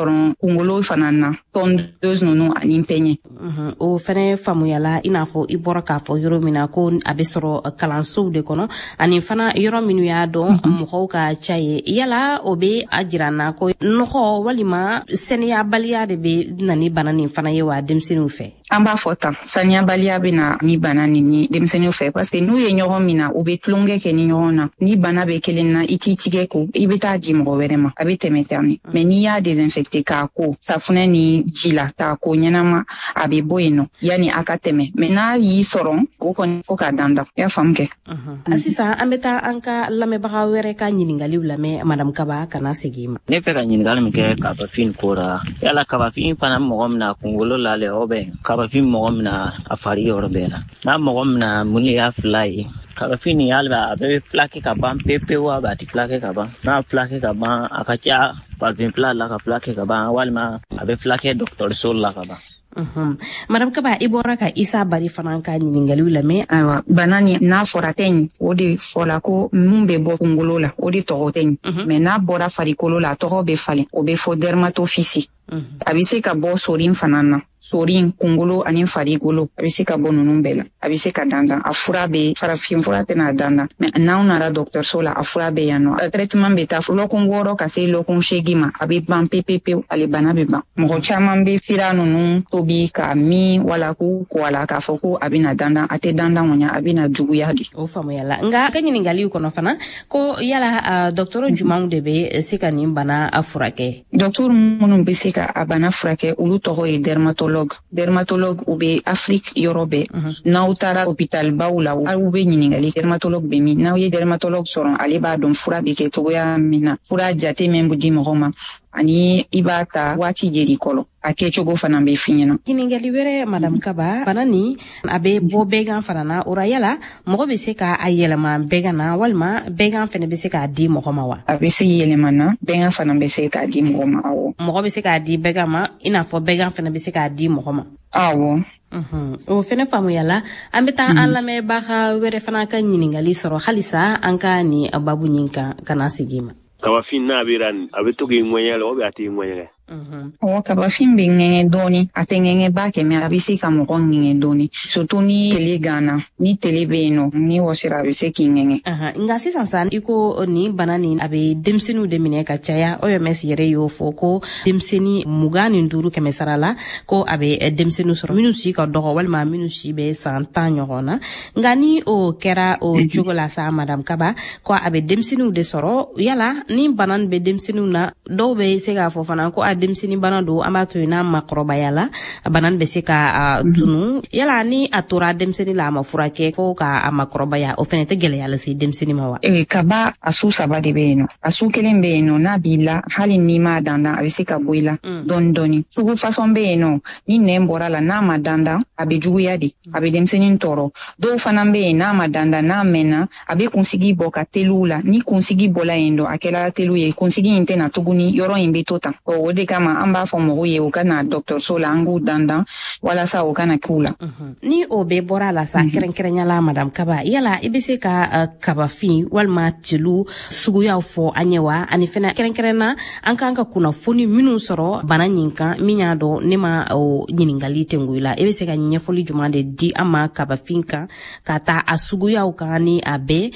sɔrɔ kungolo fana na, tondeuse ninnu ani peigne. O fɛnɛ faamuyala. I n'a fɔ i bɔra k'a fɔ yɔrɔ min na ko a bɛ sɔrɔ kalansow de kɔnɔ ani fana yɔrɔ minnu y'a dɔn mɔgɔw ka ca ye, yala o bɛ a jira na ko nɔgɔ walima sɛnɛyabaliya de bɛ na ni bana nin fana ye wa denmisɛnninw fɛ? An b'a fɔ tan, saniyabaliya bɛ na ni bana nin ni denmisɛnninw fɛ, parce que n'u ye ɲɔgɔn min na, u bɛ tulonkɛ kɛ ni ɲɔgɔn na. Ni bana bɛ kelen na, i t'i tigɛ ko, i bɛ taa di mɔgɔ wɛrɛ ma, a bɛ tɛmɛ tan ne. Mais n'i y'a désinfecté k'a ko safunɛ ni ji la, k'a ko ɲɛnama, a bɛ bɔ yen nɔ yanni a ka tɛmɛ. Mais n'a y'i sɔrɔ, o kɔni fo k'a dandan, i y'a faamu kɛ. Sisan an bɛ taa an ka lamɛnbaga wɛrɛ ka ɲiningaliw lamɛn. Madame Kaba, kana segin ma. Ne fɛ ka ɲininkali min kɛ kabafin ko la, yala kabafin fana mɔgɔ min na kunkolo la le, o bɛ kabafin mɔgɔ min na a fari yɔrɔ bɛɛ la? N'a mɔgɔ min na, mun de y'a fila ye? Kabafin nin, hali a bɛ filakɛ ka ban pewu pewu, a bɛ a tɛ filakɛ ka ban? N'a filakɛ ka ban, a ka ca farafin fila la ka filakɛ ka ban, walima a bɛ filakɛ dɔgɔtɔrɔso la ka ban? Madame Kaba, i bɔra ka Isa Bari fana ka ɲininkaliw lamɛn. Ayiwa, bana ni n'a fɔra teigne, o de fɔla ko mun bɛ bɔ kungolo la, o de tɔgɔ teigne. Mais n'a bɔra farikolo la, a tɔgɔ bɛ falen, o bɛ fɔ dermatophysie. A bɛ se ka bɔ sorin fana na, sorin, kungolo ani farikolo, a bɛ se ka bɔ ninnu bɛɛ la. A bɛ se ka dandan, a fura bɛ, farafin fura tɛna dandan, mais n'aw nana dɔgɔtɔrɔso la, a fura bɛ yan nɔ. Traitement bɛ taa lɔkun 6 ka se lɔkun 8 ma, a bɛ ban pewu pewu, ale bana bɛ ban. Mɔgɔ caman bɛ fira ninnu tobi ka min wala k'u ko a la k'a fɔ ko a bɛna dandan. A tɛ dandan kɔni, a bɛna juguya de. O faamuyala. Nka ka ɲininkaliw kɔnɔ fana ko yala dɔgɔtɔrɔ jumanw de bɛ se ka nin bana furakɛ? Dɔgɔtɔrɔ minnu bɛ se ka a bana furakɛ, olu tɔgɔ ye dermatologue. Dermatologue, u bɛ Afrique yɔrɔ bɛɛ. N'aw taara hôpital baw la, aw bɛ ɲininkali dermatologue bɛ min. N'aw ye dermatologue sɔrɔ, ale b'a dɔn fura bɛ kɛ cogoya min na, fura jate min bɛ di mɔgɔ ma, ani i b'a ta waati jeli kɔrɔ, a kɛcogo fana bɛ f'i ɲɛna. Ɲininkali wɛrɛ, Madame Kaba, bana nin a bɛ bɔ bɛgan fana na. O ra, yala mɔgɔ bɛ se ka a yɛlɛma bɛgan na, walima bɛgan fana bɛ se k'a di mɔgɔ ma wa? A bɛ se yɛlɛma na, bɛgan fana bɛ se k'a di mɔgɔ ma, awɔ. Mɔgɔ bɛ se k'a di bɛgan ma, i n'a fɔ bɛgan fana bɛ se k'a di mɔgɔ ma? Awɔ. O fɛnɛ faamuyala. An bɛ taa an lamɛnbaga wɛrɛ fana ka ɲininkali sɔrɔ halisa an ka nin babu ɲin kan, ka na segin ma. Kabafin n'a bɛ a bɛ to k'i ŋɛɲɛ la, o bɛ a t'i ŋɛɲɛ? Ɔwɔ, kabafin bɛ ŋɛɲɛ dɔɔni. A tɛ ŋɛɲɛ ba kɛ, mais a bɛ se ka mɔgɔ ŋɛɲɛ dɔɔni, surtout ni tele ganna, ni tele bɛ yen nɔ, ni wɔsira, a bɛ se k'i ŋɛɲɛ. Nka sisan sa, i ko nin bana nin a bɛ denmisɛnninw de minɛ ka caya. OMS yɛrɛ y'o fɔ ko denmisɛnnin 25 kɛmɛ sara la, ko a bɛ denmisɛnninw sɔrɔ minnu si ka dɔgɔ walima minnu si bɛ san 10 ɲɔgɔn na. Nka ni o kɛra o cogo la sa, Madame Kaba, ko a bɛ denmisɛnninw de sɔrɔ, yala ni bana nin bɛ denmisɛnninw na, dɔw bɛ se k'a fɔ fana ko a denmisɛnnin bana don, an b'a to yen, n'a makɔrɔbaya la, bana bɛ se ka tunu. Yala ni a tora denmisɛnnin la, a ma furakɛ fo ka a makɔrɔbaya, o fana tɛ gɛlɛya lase denmisɛnnin ma wa? Ee, kaba a su saba de bɛ yen nɔ. A su kelen bɛ yen nɔ, n'a b'i la, hali n'i m'a dandan, a bɛ se ka bɔ i la dɔɔni dɔɔni. Sugu façon bɛ yen nɔ, ni nɛn bɔra la, n'a ma dandan, a bɛ juguya de, a bɛ denmisɛnnin tɔɔrɔ. Dɔw fana bɛ yen, n'a ma dandan, n'a mɛnna, a bɛ kunsigi bɔ ka teliw la. Ni kunsigi bɔla yen dɔ, a kɛra teliw ye, kunsigi in tɛna tuguni, yɔrɔ in bɛ to tan. O de kama an b'a fɔ mɔgɔw ye u ka na dɔgɔtɔrɔso la, an k'u dandan walasa o kana k'u la. Ni o bɛɛ bɔra a la sa, kɛrɛnkɛrɛnya la, Madame Kaba, yala i bɛ se ka kabafin walima telu suguyaw fɔ an ye wa? Ani fɛnɛ kɛrɛnkɛrɛnna, an kan ka kunnafoni minnu sɔrɔ bana nin kan, min y'a dɔn ne ma o ɲininkali tengu i la, i bɛ se ka ɲɛfɔli jumɛn de di an ma kabafin kan, ka taa a suguyaw kan ni a bɛɛ,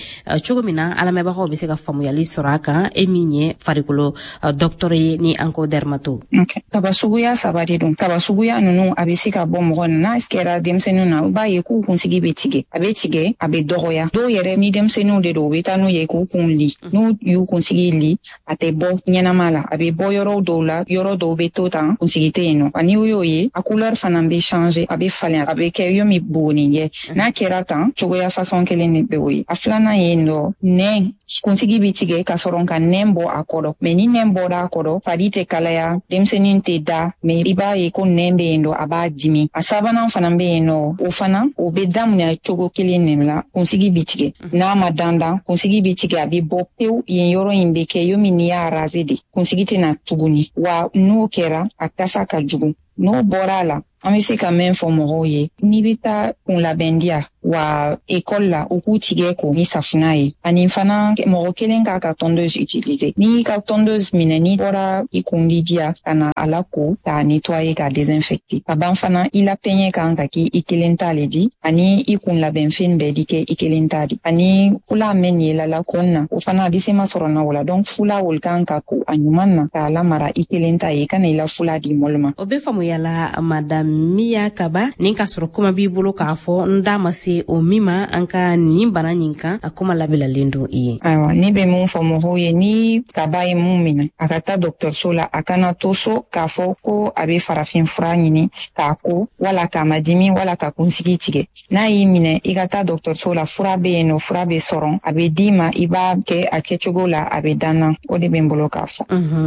cogo min na an lamɛnbagaw bɛ se ka faamuyali sɔrɔ a kan, e min ye farikolo dɔgɔtɔrɔ ye ni an ko dermato? Okay. Kaba suguya saba de don. Kaba suguya ninnu, a bɛ se ka bɔ mɔgɔ na. N'a kɛra denmisɛnninw na, i b'a ye k'u kunsigi bɛ tigɛ, a bɛ tigɛ, a bɛ dɔgɔya. Dɔw yɛrɛ, ni denmisɛnninw de don, u bɛ taa n'u ye k'u kun li. N'u y'u kunsigi li, a tɛ bɔ ɲɛnama la, a bɛ bɔ yɔrɔ dɔw la, yɔrɔ dɔw bɛ to tan, kunsigi tɛ yen nɔ. Ani y'o ye, a couleur fana bɛ changer, a bɛ falen, a bɛ kɛ yomi buguninjɛ. N'a kɛra tan cogoya façon kelen de bɛ o ye. A filanan ye nɔ, nɛn kunsigi bɛ tigɛ ka sɔrɔ ka nɛn bɔ a kɔrɔ. Mais ni nɛn bɔra a kɔrɔ, fari tɛ kalaya, denmisɛnnin tɛ da, mais i b'a ye ko nɛn bɛ yen nɔ, a b'a dimi. A sabanan fana bɛ yen nɔ, o fana o bɛ daminɛ cogo kelen de la, kunsigi bɛ tigɛ. N'a ma dandan, kunsigi bɛ tigɛ, a bɛ bɔ pewu, yen yɔrɔ in bɛ kɛ yomi n'i y'a raser de, kunsigi tɛna tuguni wa. N'o kɛra, a kasa ka jugu. N'o bɔra a la An bɛ se ka mɛn fɔ mɔgɔw ye, n'i bɛ taa kunlabɛndiya wa ekɔli la, u k'u tigɛ ko ni safunɛ ye. Ani fana, mɔgɔ kelen k'a ka tondeuse utiliser. N'i ka tondeuse minɛ, n'i bɔra i kundi diya ka na a la ko k'a nettoyer, k'a désinfecter. Ka ban fana, i la peigne kan ka k'i i kelen ta le di, ani i kun labɛnfɛn bɛɛ di kɛ i kelen ta di. Ani fula mɛn ye la kun na, o fana a di se ma sɔrɔ na o la. Donc fula olu kan ka ko a ɲuman na k'a lamara i kelen ta ye, i kana i la fula di mɔlu ma. O bɛ faamuyala, Madame Miya Kaba. Nin k'a sɔrɔ kuma b'i bolo k'a fɔ, n da ma se o min ma an ka nin bana nin kan, a kuma labilalen don i ye. Ayiwa, ne bɛ mun fɔ mɔgɔw ye? Ni kaba ye mun minɛ, a ka taa dɔgɔtɔrɔso la. A kana to so k'a fɔ ko a bɛ farafin fura ɲini k'a ko, wala k'a ma dimi, wala ka kunsigi tigɛ. N'a y'i minɛ, i ka taa dɔgɔtɔrɔso la. Fura bɛ yen nɔ, fura bɛ sɔrɔ, a bɛ d'i ma, i b'a kɛ a kɛcogo la, a bɛ danna. O de bɛ n bolo k'a fɔ.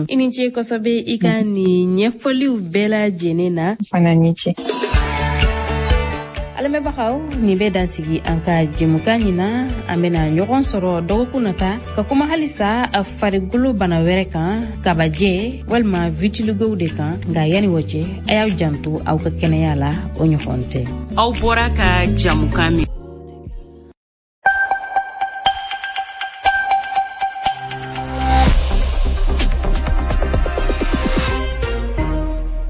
I ni ce kosɛbɛ i ka nin ɲɛfɔliw bɛɛ lajɛlen na. Fana ni ce. Lamɛnbagaw, nin bɛ dansigi an ka jɛmukan ɲin na. An bena ɲɔgɔn sɔrɔ dɔgɔkun nata ka kuma halisa farigolo bana wɛrɛ kan, kabajɛ walima vitiligow de kan. Nka yani o cɛ, a y'aw janto aw ka kɛnɛya la, o ɲɔgɔn tɛ. Aw bɔra ka jamukan min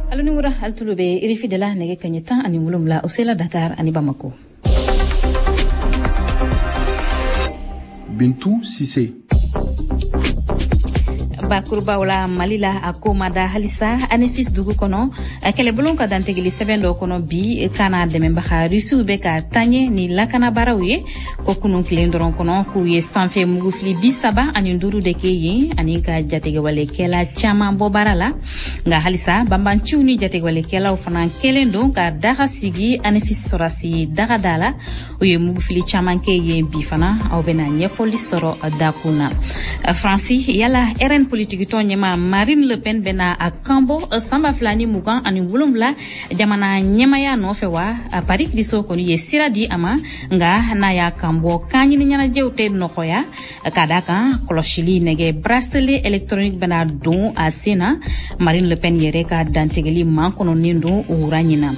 Alo ni wura, ali tulo be RFI de la. Nɛgɛ kaɲɛ 17, o sela Dakar ani Bamako. Bintu Sise. Bakurubaw la, Mali la, a ko ma da halisa Anefis dugu kɔnɔ. Kɛlɛbulon ka dantigɛli sɛbɛn dɔ kɔnɔ bi kana dɛmɛbaga Rusiw bɛ ka taɲɛ ni lakanabaaraw ye ko kunun tilen dɔrɔn kɔnɔ, k'u ye sanfɛ mugufili 35 de kɛ yen ani ka jatigɛwalekɛla caman bɔ baara la. Nka halisa banbanciw ni jatigɛwalekɛlaw fana kɛlen don ka daga sigi Anefis sɔrɔsi daga da la. U ye mugufili caman kɛ yen bi fana. Aw bɛna ɲɛfɔli sɔrɔ dakun na. Faransi, yala RN politikitɔn ɲɛma Marine Le Pen bɛna a kanbɔ san 2027 jamana ɲɛmaya nɔfɛ wa? Paris kiriso kɔni ye sira di a ma, nka n'a y'a kanbɔ, kan ɲini ɲɛnajɛw tɛ nɔgɔya, ka da kan kɔlɔsili nɛgɛ bracelet électronique bɛna don a sen na. Marine Le Pen yɛrɛ ka dantigɛli makɔnɔnen don o wura ɲina.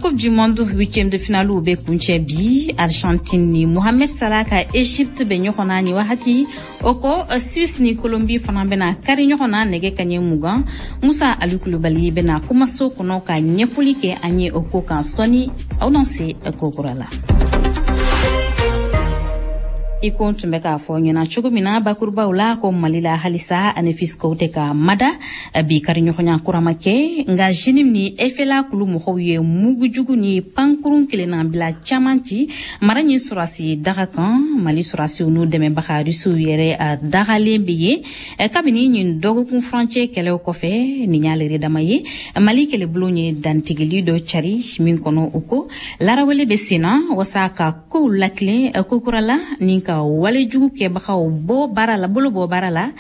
Coupe du monde huitième de finale bɛ kuncɛ bi. Argentine ni Mohamed Salah ka Egypte bɛ ɲɔgɔn na ni wagati. O kɔ, Suisse ni Colombie fana bɛna kari ɲɔgɔn na nɛgɛ kaɲɛ 20. Musa Ali Kulubali bɛna kumaso kɔnɔ ka ɲɛfɔli kɛ an ye o ko kan sɔɔni. Aw n'an se ko kura la. I ko n tun bɛ k'a fɔ ɲɛna cogo min na bakurubaw la, ko Mali la, halisa Anefiskow tɛ ka mada. Bi kari ɲɔgɔnya kurama kɛ, nka JNIM ni FLA kulu mɔgɔw ye mugujugu ni pankurun kelenna bila caman ci mara ɲi sɔrɔsi daga kan. Mali sɔrɔsiw n'u dɛmɛbaga Rusiw yɛrɛ a dagalen be yen kabini ɲin dɔgɔkun furancɛ kɛlɛw kɔfɛ. Nin y'a lere dama ye, Mali kɛlɛbulon ye dantigɛli dɔ cari min kɔnɔ, o ko larawele bɛ senna wasa ka kow lakilen kokura la ni ka walejugu kɛbagaw bɔ baara la, bolo bɔ baara la.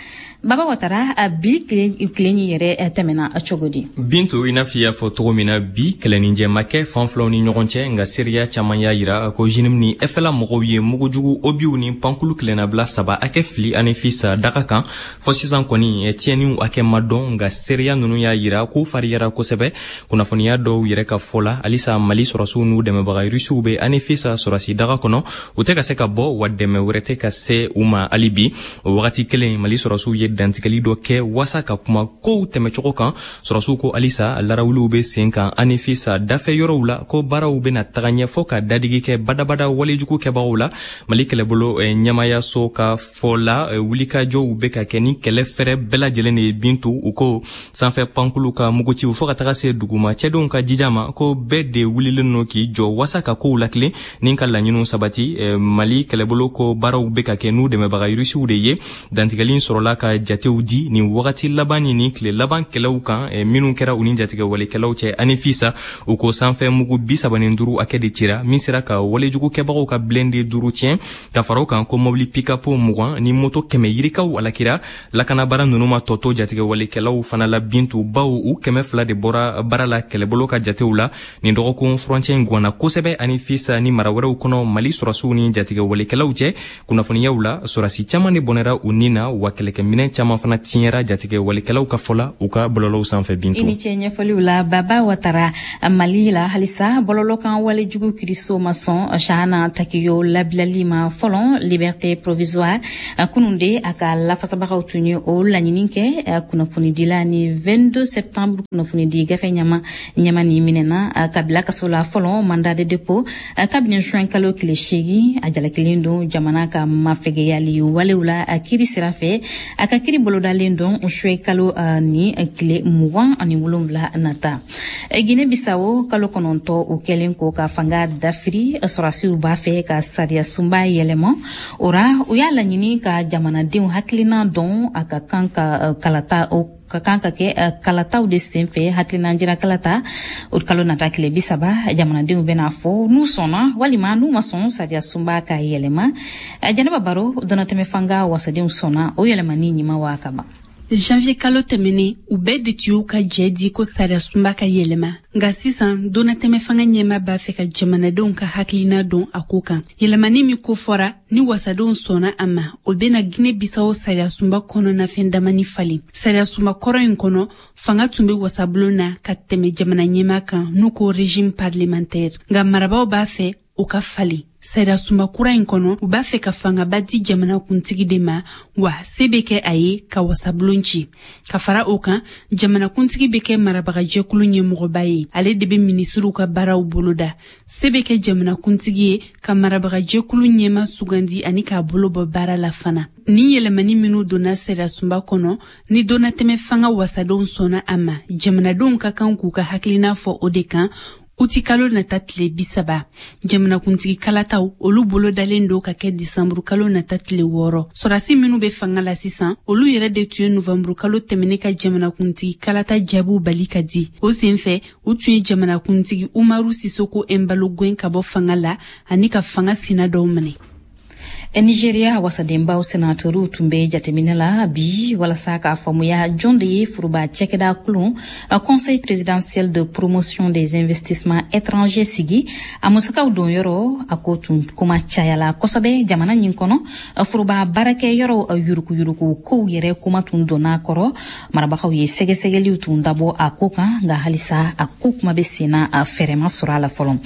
Baba Watara, a bi tilen yɛrɛ tɛmɛna cogo di? Bintu, i n'a fɔ i y'a fɔ cogo min na, bi kɛlɛninjɛ ma kɛ fan filaw ni ɲɔgɔn cɛ, nka seereya caman y'a yira ko JNIM ni FLA mɔgɔw ye mugujugu, obiw ni pankulu kelennabila saba hakɛ fili Anefis daga kan. Fɔ sisan kɔni, tiɲɛniw hakɛ ma dɔn, nka seereya ninnu y'a yira k'u fariyara kosɛbɛ. Kunnafoniya dɔw yɛrɛ ka fɔ la, halisa Mali sɔrɔsiw n'u dɛmɛbaga Rusiw bɛ Anefis sɔrɔsi daga kɔnɔ, u tɛ ka se ka bɔ, wa dɛmɛ wɛrɛ tɛ ka se u ma hali bi. O wagati kelen, Mali sɔrɔsiw ye dantigɛli dɔ kɛ wasa ka kuma kow tɛmɛcogo kan. Sɔrɔsiw ko halisa larawuliw bɛ sen kan Anefis dafɛ yɔrɔw la, ko baaraw bɛna taga ɲɛ fɔ ka dadigi kɛ badabada walejugu kɛbagaw la. Mali kɛlɛbolo ɲɛmayaso ka fɔ la, wulikajɔw bɛ ka kɛ ni kɛlɛ fɛrɛ bɛɛ lajɛlen de ye. Bintu, u ko sanfɛ pankulu ka mugutiw fɔɔ ka taga se duguma cɛdenw ka jija ma, ko bɛɛ de wulilen no k'i jɔ wasa ka kow lakilen ni ka laɲiniw sabati. Mali kɛlɛbolo ko baaraw bɛ ka kɛ n'u dɛmɛbaga Rusiw de ye. Dantigɛli sɔrɔla ka jatew di nin wagati laban ni tile laban kɛlɛw kan minnu kɛra u ni jatigɛwalekɛlaw cɛ Anefisa. U ko sanfɛ mugu 35 hakɛ de cira, min sera ka walejugu kɛbagaw ka blindé duuru tiɲɛ. Ka fara o kan, ko mobili pick-up 20 ni moto 100 yirikaw alakira. Lakanabara ninnu ma tɔ to jatigɛwalekɛlaw fana la, Bintu, baw u 200 de bɔra baara la kɛlɛbolo ka jatew la. Nin dɔgɔkun furancɛ in gwanna kosɛbɛ Anefisa ni mara wɛrɛw kɔnɔ, Mali sɔrɔsiw ni jatigɛwalekɛlaw cɛ. Kunnafoniyaw la, sɔrɔdasi caman de bɔnɛra u ni na, wa kɛlɛkɛminɛn caman fana tiɲɛra jatigɛ walikɛlaw ka fɔ la u ka bɔlɔlɔw sanfɛ. Bintu, i ni ce ɲɛfɔliw la. Baba Watara. Mali la halisa, bɔlɔlɔ kan walejugu kiriso ma sɔn Chahana Takiyo labilali ma fɔlɔ, liberté provisoire. Kunun de a ka lafasabagaw tun ye o laɲini kɛ. Kunnafonidila ni 22 septembre kunnafonidi gafe ɲama ɲama ni minɛna ka bila kaso la fɔlɔ, mandat de dépôt, kabini juin kalo tile 8. A jalakilen don jamana ka mafɛgɛyali walew la kiri sira fɛ. A ka kiri bolodalen don juin kalo ni tile 27 nata. Guinée Bissau, kalo 9 o kɛlen ko ka fanga dafiri, sɔrɔdasiw b'a fɛ ka sariya sunba yɛlɛma. O ra, u y'a laɲini ka jamanadenw hakilina dɔn. A ka kan ka kalata, o ka kan ka kɛ kalataw de sen fɛ, hakilina jira kalata o kalo nata tile 30. Jamanadenw bɛna fɔ n'u sɔnna walima n'u ma sɔn sariya sunba ka yɛlɛma. Jɛnɛba Baro, dɔnatɛmɛ fanga wasadenw sɔnna o yɛlɛmani ɲuman wa ka ban? Janvier kalo tɛmɛnen, u bɛɛ de tun y'u ka jɛ di ko sariya sunba ka yɛlɛma. Nka sisan, donnatɛmɛ fanga ɲɛma b'a fɛ ka jamanadenw ka hakilina dɔn a ko kan. Yɛlɛmani min ko fɔra, ni wasadenw sɔnna a ma, o bena Guinée Bissau sariya sunba kɔnɔnafɛn damani falen. Sariya sunba kɔrɔ in kɔnɔ, fanga tun be wasabulon na ka tɛmɛ jamana ɲɛma kan, n'u ko régime parlementaire. Nka marabaw b'a fɛ o ka falen. Sariya sunba kura in kɔnɔ, u b'a fɛ ka fangaba di jamanakuntigi de ma, wa se bɛ kɛ a ye ka wasabulon ci. Ka fara o kan, jamanakuntigi bɛ kɛ marabagajɛkulu ɲɛmɔgɔba ye, ale de bɛ minisiriw ka baaraw boloda. Se bɛ kɛ jamanakuntigi ye ka marabagajɛkulu ɲɛma sugandi ani k'a bolo bɔ baara la fana. Ni yɛlɛmani minw donna sariya sunba kɔnɔ, ni donnatɛmɛ fanga wasadenw sɔnna a ma, jamanadenw ka kan k'u ka hakilina fɔ o de kan uti kalo nata tile 30. Jamanakuntigi kalataw, olu bolodalen don ka kɛ disanburu kalo nata tile 6. Sɔrɔdasi minw be fanga la sisan, olu yɛrɛ de tun ye novanburu kalo tɛmɛnen ka jamanakuntigi kalata jaabiw bali ka di. O sen fɛ, u tun ye jamanakuntigi Umaru Sisoko Embalo gwɛn ka bɔ fanga la ani ka fanga sina dɔw minɛ. Nigeria wasadenbaw senatoriw tun bɛ jateminɛ la bi walasa k'a faamuya jɔn de ye foroba cɛkɛda kulun Conseil présidentiel de promotion des investissements étrangers sigi, a musakaw don yɔrɔ. A ko tun kuma cayala kosɛbɛ jamana ɲin kɔnɔ. Foroba baarakɛ yɔrɔ yurukuyuruku kow yɛrɛ kuma tun donna kɔrɔ. Marabagaw ye sɛgɛsɛgɛliw tun dabɔ a ko kan, nka halisa a ko kuma bɛ senna, fɛɛrɛ ma sɔrɔ a la fɔlɔ.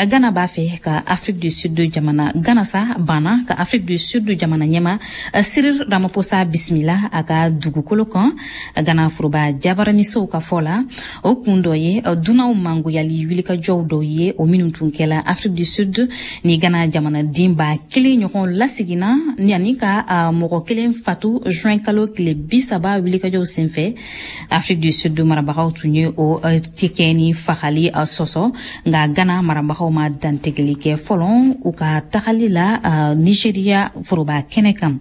Ghana b'a fɛ ka Afrique du Sud jamana, Ghana sa banna ka Afrique du Sud jamana ɲɛma Cyril Ramaphosa bisimila a ka dugukolo kan. Ghana foroba jabaranisow ka fɔ la, o kun dɔ ye dunanw mangoyali wulikajɔw dɔw ye, o minnu tun kɛla Afrique du Sud ni Ghana jamanaden 1000 ɲɔgɔn laseginna ni ani ka mɔgɔ kelen fatu juin kalo tile 30 wulikajɔw senfɛ. Afrique du Sud marabagaw tun ye o cikɛ ni fagali sɔsɔ, nka Ghana marabagaw ma dantigɛli kɛ fɔlɔ u ka tagali la Nigeria foroba kɛnɛ kan.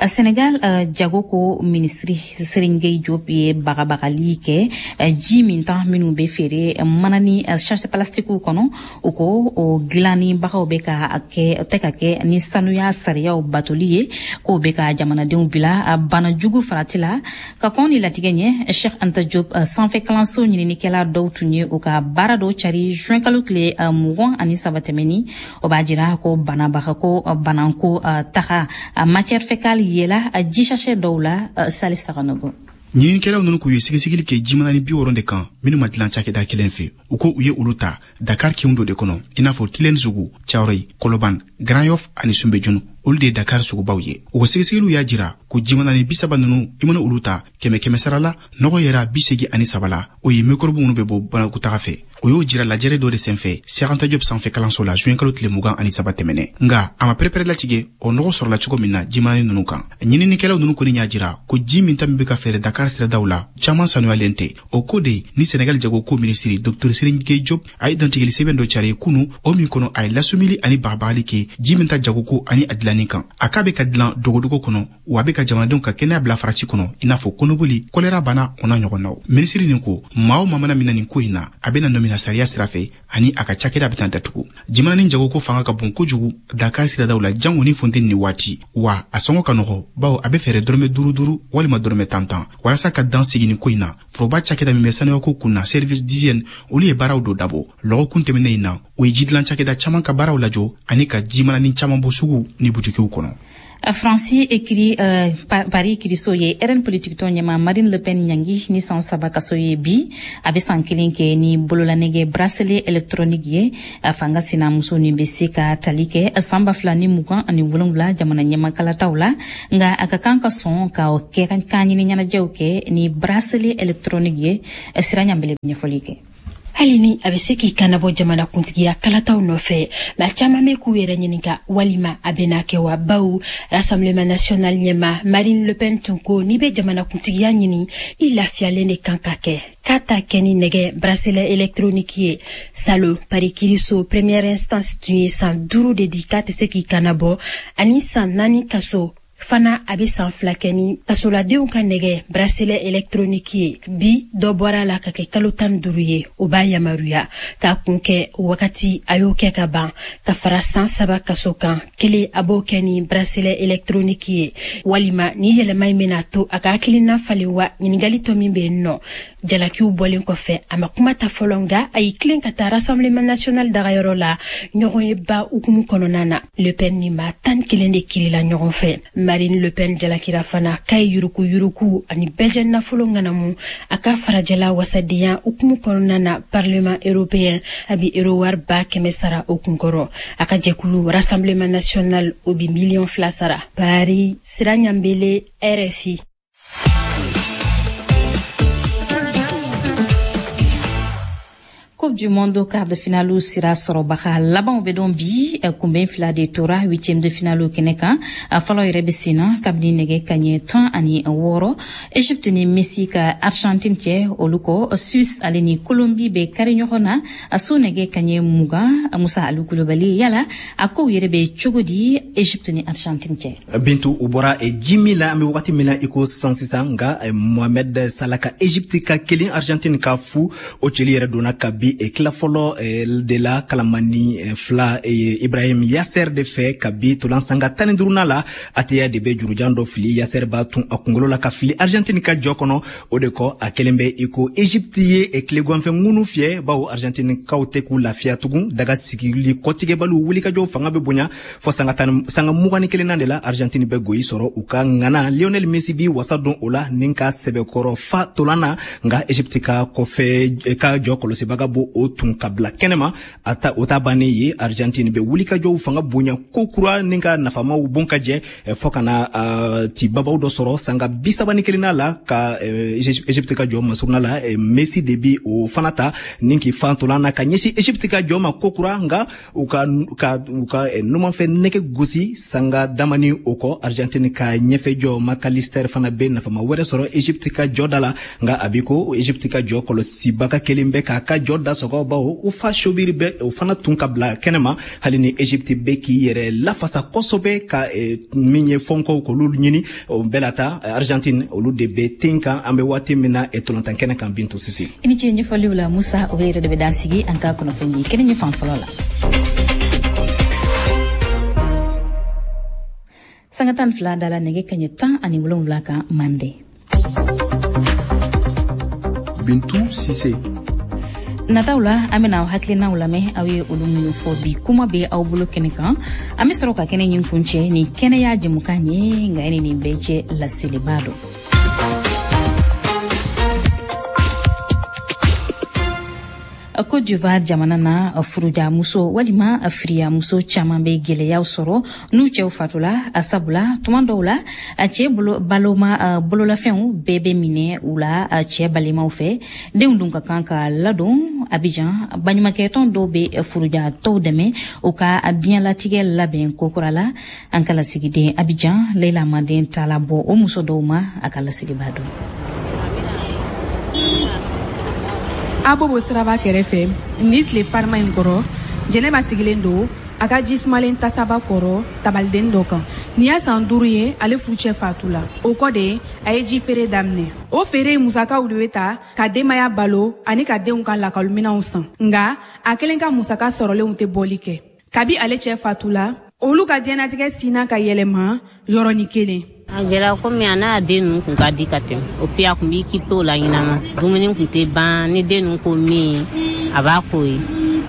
Senegal jago ko minisiri Serigne Gueye Diop ye bagabagali kɛ ji minta minnu bɛ feere manani sachet plastiques kɔnɔ. O ko o dilannibagaw bɛ ka kɛ tɛ ka kɛ ni sanuya sariyaw batoli ye, k'o bɛ ka jamanadenw bila bana jugu farati la. Ka kɔn ni latigɛ ɲɛ, Cheikh Anta Diop sanfɛ kalanso ɲininikɛla dɔw tun ye u ka baara dɔw cari juin kalo tile 23 tɛmɛni. O b'a jira ko banabaga ko bananko taga matière fécale yela ji sachet dɔw la. Salif Saganogo. Ɲininikɛlaw ninnu k'u ye sɛgɛsɛgɛli kɛ jimanani 60 de kan minnu ma dilan cakɛda kelen fɛ. U ko u ye olu ta Dakar kinw dɔ de kɔnɔ, i n'a fɔ Tilène sugu, Cawroyi, Kɔlɔban, Grand Yoff ani Sunbejunu. Olu de ye Dakar sugubaw ye. U ka sɛgɛsɛgɛliw y'a jira ko jimanani 30 ninnu, i mana olu ta kɛmɛ kɛmɛ sara la, nɔgɔ yɛrɛ 83 la, o ye mikɔrɔbu minnu bɛ bɔ banakɔtaga fɛ. O y'o jira lajɛrɛ dɔ de senfɛ Cheikh Anta Diop sanfɛ kalanso la juin kalo tile 23 tɛmɛnɛ. Nka a ma pɛrɛpɛrɛ latigɛ o nɔgɔ sɔrɔla cogo min na jimanani ninnu kan. Ɲininikɛlaw ninnu kɔni y'a jira ko ji min ta min bɛ ka feere Dakar siradaw la, caman sanuyalen tɛ. O ko de ni Senegal jago ko minisiri Dr Serigne Gueye Diop a ye dantigɛli sɛbɛn dɔ cari kunu, o min kɔnɔ a ye lasumili ani bagabagali kɛ ji min ta jagoko ani a dilanni kan. A k'a bɛ ka dilan dogodogo kɔnɔ, wa a bɛ ka jamanadenw ka kɛnɛya bila farati kɔnɔ, i n'a fɔ kɔnɔboli, kɔlɛra bana, o n'a ɲɔgɔnnaw. Minisiri nin ko maa o maa mana minɛ nin ko in na, a bɛna nɔmina sariya sira fɛ ani a ka cakɛda bɛna datugu. Jimanani jagoko fanga ka bon kojugu Dakar siradaw la, jango ni funteni ni waati, wa a sɔngɔ ka nɔgɔ, bawo a bɛ fɛɛrɛ dɔrɔmɛ 5 5 walima dɔrɔmɛ 10 10. Walasa ka dan sigi nin ko in na, foroba cakɛda min bɛ sanuyako kun na, service d'hygiène, olu ye baaraw dɔ dabɔ lɔgɔkun tɛmɛnen in na. O ye jidilan cakɛda caman ka baaraw lajɔ ani ka jimanani caman bɔ sugu ni butikiw kɔnɔ. Faransi ekiri Paris kiriso ye RN politikitɔn ɲɛmaa Marine Le Pen ɲangi ni san 3 kaso ye bi. A bɛ san 1 kɛ ni bololanɛgɛ bracelet électronique ye. Fanga sinamuso nin bɛ se ka tali kɛ san 2027 jamana ɲɛmakalataw la, nka a ka kan ka sɔn ka kɛ kan ɲini ɲɛnajɛw kɛ ni bracelet électronique ye. Sira Ɲanbele ɲɛfɔli kɛ. Hali ni a bɛ se k'i kannabɔ jamana kuntigiya kalataw nɔfɛ, maa caman bɛ k'u yɛrɛ ɲininka walima a bɛna kɛ wa, bawo Rassemblement national ɲɛmaa Marine Le Pen tun ko n'i bɛ jamana kuntigiya ɲini, i lafiyalen de kan ka kɛ, k'a ta kɛ ni nɛgɛ bracelet électronique ye. Salon Paris kiriso première instance tun ye san 5 de di k'a tɛ se k'i kannabɔ, ani san 4 kaso fana. A bɛ san 2 kɛ ni kasoladenw ka nɛgɛ bracelet électronique ye. Bi dɔ bɔra la ka kɛ kalo 15 ye. O b'a yamaruya k'a kun kɛ o wagati, a y'o kɛ ka ban, ka fara san 3 kaso kan kelen, a b'o kɛ ni bracelet électronique ye. Walima ni yɛlɛma in bɛna to a ka hakilina falen wa? Ɲininkali tɔ min bɛ yen nɔ, jalakiw bɔlen kɔfɛ, a ma kuma ta fɔlɔ, nka a y'i tilen ka taa Rassemblement national dagayɔrɔ la ɲɔgɔn ye ba hukumu kɔnɔna na. Le Pen ni maa 11 de kirila ɲɔgɔn fɛ. Marine Le Pen jalakira fana k'a ye yuruku-yuruku ani bɛɛjɛ nafolo ŋanamu a ka farajɛla wasadenya hukumu kɔnɔna na Parlement européen. A bi euro wari 100 000 sara o kunkɔrɔ. A ka jɛkulu Rassemblement national, o bi miliyɔn 2 sara. Paris, Sira Ɲanbele, RFI. Coupe du monde quart de finale sira sɔrɔbaga labanw bɛ dɔn bi. Kunbɛn fila de tora huitième de finale kɛnɛ kan. Fɔlɔ yɛrɛ bɛ sen na kabini nɛgɛ kaɲɛ 16, Egypte ni Messi ka Argentine cɛ. Olu kɔ, Suisse ale ni Colombie bɛ kari ɲɔgɔn na so nɛgɛ kaɲɛ 20. Musa Alu Kulubali, yala a kow yɛrɛ bɛ cogo di Egypte ni Argentine cɛ? Bintu, u bɔra ji min la, an bɛ wagati min na i ko sisan sisan, nka Mohamed Salah ka Egypte ka 1, Argentine ka 0. O cili yɛrɛ donna kabi tila fɔlɔ de la, kalamani 2, Ibrahim Yasser de fɛ. Kabi tolan sanga 15nan la, Ateya de bɛ jurujan dɔ fili, Yasser b'a tun a kunkolo la ka fili Argentine ka jɔ kɔnɔ. O de kɔ, a kelen bɛ i ko Egypte ye tileganfɛ ŋunu fiyɛ, bawo Argentine kaw tɛ k'u lafiya tugun. Daga sigili kɔtigɛbaliw wulikajɔw fanga bɛ bonya fɔ sanga 21nan de la, Argentine bɛ goyi sɔrɔ. U ka ŋana Lionel Messi bi wasa don o la ni ka sɛbɛkɔrɔ fa tolan na, nka Egypte ka kɔfɛ ka jɔ kɔlɔsibaga bo o tun ka bila kɛnɛma. A ta o ta bannen ye, Argentine bɛ wulikajɔw fanga bonya ko kura ni ka nafamaw bon ka jɛ fɔ ka na ti babaw dɔ sɔrɔ sanga 31nan la, ka Egypte ka jɔ masuruna la. Messi de bi o fana ta ni k'i fan tolan na ka ɲɛsin Egypte ka jɔ ma ko kura, nka u ka numanfɛ nɛgɛ gosi. Sanga damani o kɔ, Argentine ka ɲɛfɛ jɔ Macalister fana bɛ nafama wɛrɛ sɔrɔ Egypte ka jɔ da la, nka a bi ko Egypte ka jɔ kɔlɔsibaga kelen bɛ k'a ka jɔ da sɔgɔ, bawo u fa Sobiri bɛ o fana tun ka bila kɛnɛma. Hali ni Egypte bɛ k'i yɛrɛ lafasa kosɛbɛ ka min ye fɔnkɔw k'olu ɲini, o bɛɛ la ta Argentine olu de bɛ ten kan, an bɛ waati min na tolantan kɛnɛ kan. Bintu Sise. I ni ce ɲɛfɔliw la, Musa. O yɛrɛ de bɛ dan sigi an ka kunnafoni kɛnɛ ɲɛ fan fɔlɔ la. Sanga 12 dala nɛgɛ kaɲɛ 17 kan mande. Bintu Sise. Nataw la, an bena aw hakilinaw lamɛn, aw ye olu minnu fɔ bi kuma bɛ aw bolo kɛnɛ kan. An be sɔrɔ ka kɛnɛ ɲin kuncɛ ni kɛnɛya jɛmukan ye, nka ni nin bɛɛ cɛ, laseliba dɔ. Côte d'Ivoire jamana na, furujamuso walima firiyamuso caman bɛ gwɛlɛyaw sɔrɔ n'u cɛw fatula, sabula tuma dɔw la a cɛ bolo baloma bololafɛnw bɛɛ bɛ minɛ u la cɛ balimaw fɛ. Denw dun ka kan ka ladon. Abidjan, baɲumankɛtɔn dɔw bɛ furujatɔw dɛmɛ u ka diɲɛlatigɛ labɛn kokura la. An ka lasigiden Abidjan, Leila Maden, taala bɔ o muso dɔw ma. A ka lasigiba don. Abobo siraba kɛrɛfɛ ni tile farima in kɔrɔ, Jɛnɛba sigilen don a ka ji sumalen tasaba kɔrɔ tabaliden dɔ kan. Nin y'a san 5 ye ale furucɛ fatu la. O kɔ de, a ye ji feere daminɛ. O feere musakaw de bɛ ta ka denbaya balo ani ka denw ka lakɔliminɛnw san, nga a kelen ka musaka sɔrɔlenw tɛ bɔli kɛ. Kabi ale cɛ fatu la, olu ka diɲɛnatigɛ sinna ka yɛlɛma yɔrɔnin kelen. A gɛlɛya komi a n'a den ninnu kun ka di ka tɛmɛ o puis a kun b'i kipe o la ɲɛnama. Dumuni kun tɛ ban ni den ninnu ko min, a b'a k'o ye.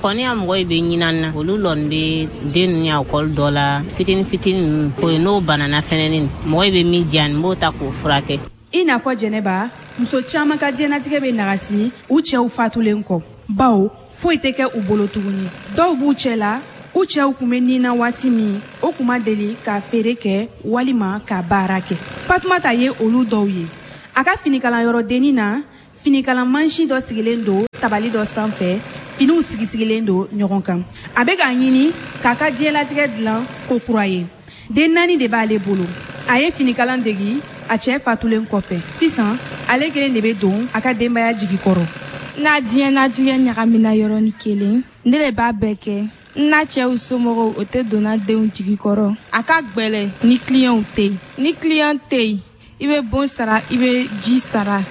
Kɔni ya mɔgɔ bɛ ɲinan na, olu lɔn bɛ den ninnu ya ekɔli dɔ la, fitini fitini ninnu, o ye n'o banana fɛnɛni, mɔgɔ bɛ min diya n b'o ta k'o furakɛ. I n'a fɔ Jɛnɛba, muso caman ka diɲɛnatigɛ bɛ nagasi u cɛw fatulen kɔ, bawo foyi tɛ kɛ u bolo tuguni. Dɔw b'u cɛ la, u cɛw kun bɛ nin na waati min, o kun ma deli ka feere kɛ walima ka baara kɛ. Fatumata ye olu dɔw ye. A ka finikalanyɔrɔ dennin na, finikalan mansin dɔ sigilen don tabali dɔ sanfɛ, finiw sigisigilen don ɲɔgɔn kan. A bɛ k'a ɲini k'a ka diɲɛlatigɛ dilan ko kura ye. Den 4 de b'ale bolo. A ye finikalan degi a cɛ fatulen kɔfɛ. Sisan ale kelen de bɛ don a ka denbaya jigi kɔrɔ. N'a diɲɛnatigɛ ɲagamina yɔrɔnin kelen, ne de b'a bɛɛ kɛ. N n'a cɛw somɔgɔw o tɛ donna denw jigi kɔrɔ. A ka gwɛlɛ ni kiliyanw tɛ yen. Ni kiliyan tɛ yen, i bɛ bon sara, i bɛ ji sara,